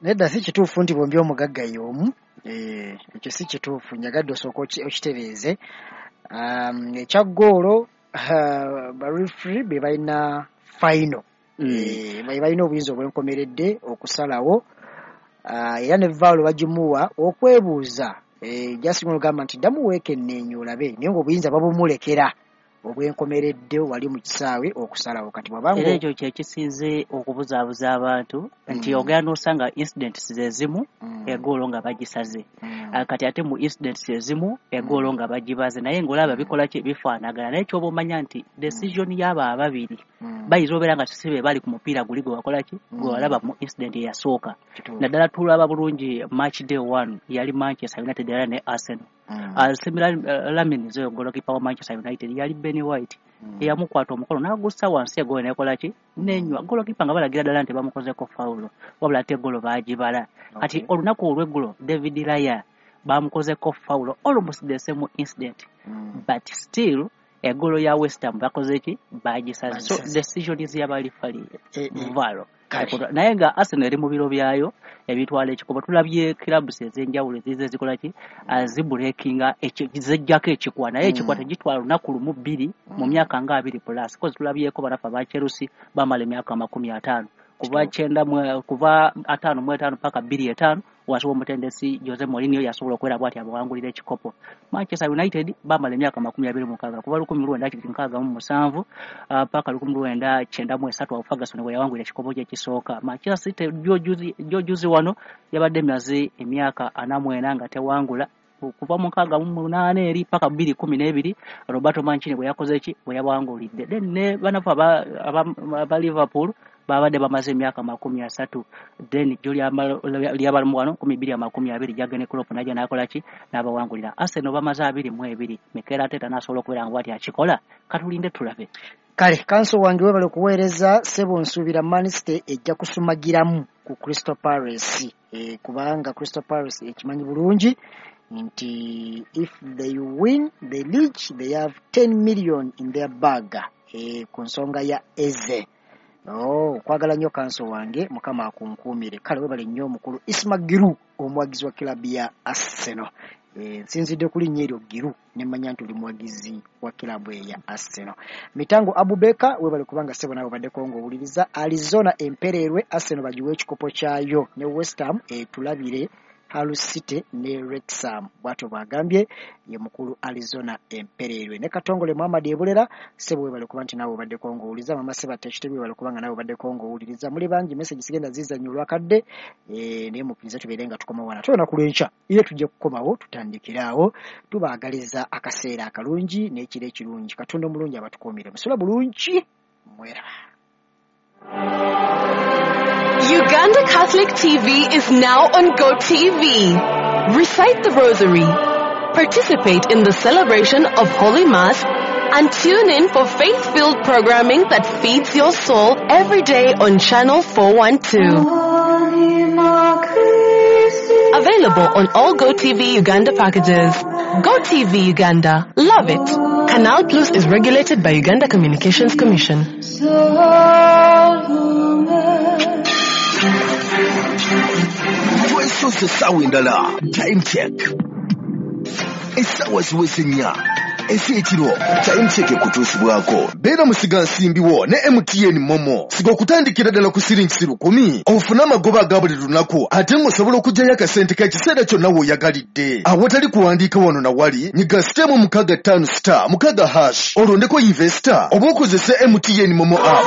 Nedda si kituufu nti bombi omugagga y'omu. Ekyo si kituufu, njagadde osooka okitereeze. Ekya ggoolo ba referee be balina final. Be balina obuyinza obwenkomeredde okusalawo. Era ne VAR bagimuwa okwebuuza. Jasinga olugamba nti ddamu weekenneenya olabe naye ng'obuyinza babumulekera obwenkomeredde wali mu kisaawe okusalawo. Kati bw'abanga era ekyo kye kisinze okubuzaabuza abantu nti ogenda n'osanga incidents ezimu eggoolo nga bagisaze, kati ate mu incidents ezimu eggoolo nga bagibaze, naye ng'olaba bikola ki bifaanagana. Naye ky'oba omanya nti decision y'abo ababiri bayinza obeera nga si be bali ku mupiira guli gwe wakola ki gwe walaba mu incident eyasooka. Naddala tulaba bulungi match day 1 yali Manchester United era ne Arsenal. Similar Lamine oyo goalkeeper wa Manchester United yali Ben White eyamukwata omukono n'agussa wansi, egolo nekola ki, nenywa. Goalkeeper nga balagira ddala nti bamukozeko fawulo, wabula ate egolo baagibala. Kati olunaku olw'eggulo David Raya bamukozeko fawulo, almost the same incident, but still egolo ya West Ham bakoze ki, bagisaze. So decisions y'aba referee VAR. Naye nga Arsenal eri mu biro byayo ebitwala ekikopo. Tulabye clubs ez'enjawulo ezize zikola ki, zibreakinga, zijjako ekikwa, naye ekikwa tegitwala lunaku lumu bbiri mu myaka nga 20 plus, cause tulabyeko banafe aba Chelsea bamala emyaka 50, kuva 90, kuva 55 paka 2005, wansi w'omutendesi Jose Mourinho yasobola okubeera bw'ati abawangulira ekikopo. Manchester United bamala emyaka 26, kuva 1967 paka 1993, awo Ferguson bwe yawangulira ekikopo kye ekisooka. Manchester City jojuzi wano yabadde emaze emyaka 44 nga tewangula, kuva mu 68 eri paka 2012, Roberto Mancini bwe yakoze ki, bwe yabawangulidde. Then ne banafu aba Liverpool babadde bamaze emyaka 30, then jjo lyabalamu wano 2020, Jurgen Klopp najja n'akola ki, n'abawangulira. Arsenal bamaze 22. Mikel Arteta n'asobola okubeera nga bwati akikola, katulinde tulabe. Kale kanso wange, webale okuweereza ssebo. Nsuubira Man City ejja kusumagiramu ku Crystal Palace, kubanga Crystal Palace ekimanyi bulungi nti if they win the league they have 10 million in their bag, ku nsonga ya Eze. Oh, kwagala nnyo kanso wange, Mukama akunkuumire. Kale webale nnyo omukulu Isma Giru, omuwagizi wa kilabu ya Arsenal. Nsinzidde ku linnya eryo Giru nemmanya nti oli muwagizi wa kilabu eya Arsenal. Mitango Abubeka, webale kubanga ssebo naawe obaddeko ng'owuliriza. Arizona empererwe, Arsenal bagiwe ekikopo kyayo ne West Ham etulabire Hull City ne Wrexham, bw'atyo bw'agambye ye mukulu Arizona empererwe. Ne Katongole Muhammad Ebulera, ssebo webale kuba nti naawe obaddeko ng'owuliriza. Mama Sebatta Ekitebi, webale kubanga naawe obaddeko ng'owuliriza. Muli bangi, message sigenda zizannya olwakadde, naye mukkirize tubeere nga tukomawo wano ate olunaku lw'enkya era tujja kukomawo tutandikire awo. Tubaagaliza akaseera akalungi n'ekiro ekirungi. Katonda omulungi abatukuumire, musula bulungi, mweraba. Uganda Catholic TV is now on GoTV. Recite the Rosary, participate in the celebration of Holy Mass, and tune in for faith-filled programming that feeds your soul every day on Channel 412. Available on all GoTV Uganda packages. GoTV Uganda. Love it. Canal Plus is regulated by Uganda Communications Commission. Twesoose essaawa endala. Time check, essaawa ziweze 4 ez'ekiro. Time check ekutuusibwako beera musigansimbiwo ne MTN MoMo. Siga okutandikira ddala ku siringi 1000 ofune amagoba aga buli lunaku, ate ng'osobola okuggyayo akasente k'ekiseera kyonna w'oyagalidde awatali kuwandiika wano na wali. Nyiga *656*6# olondeko investor oba okozese MTN MoMo app.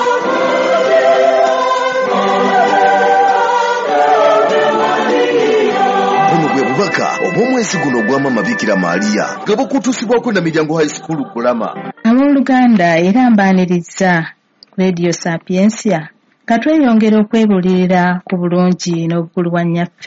Buno bwe bubaka obw'omwezi guno ogwa Bikira Maria nga bukutuusibwako na Miryango High School Kulama. Abooluganda, era mbaaniriza Radio Sapiensia, ka tweyongera okwebuulirira ku bulungi n'obukulu bwa nnyaffe.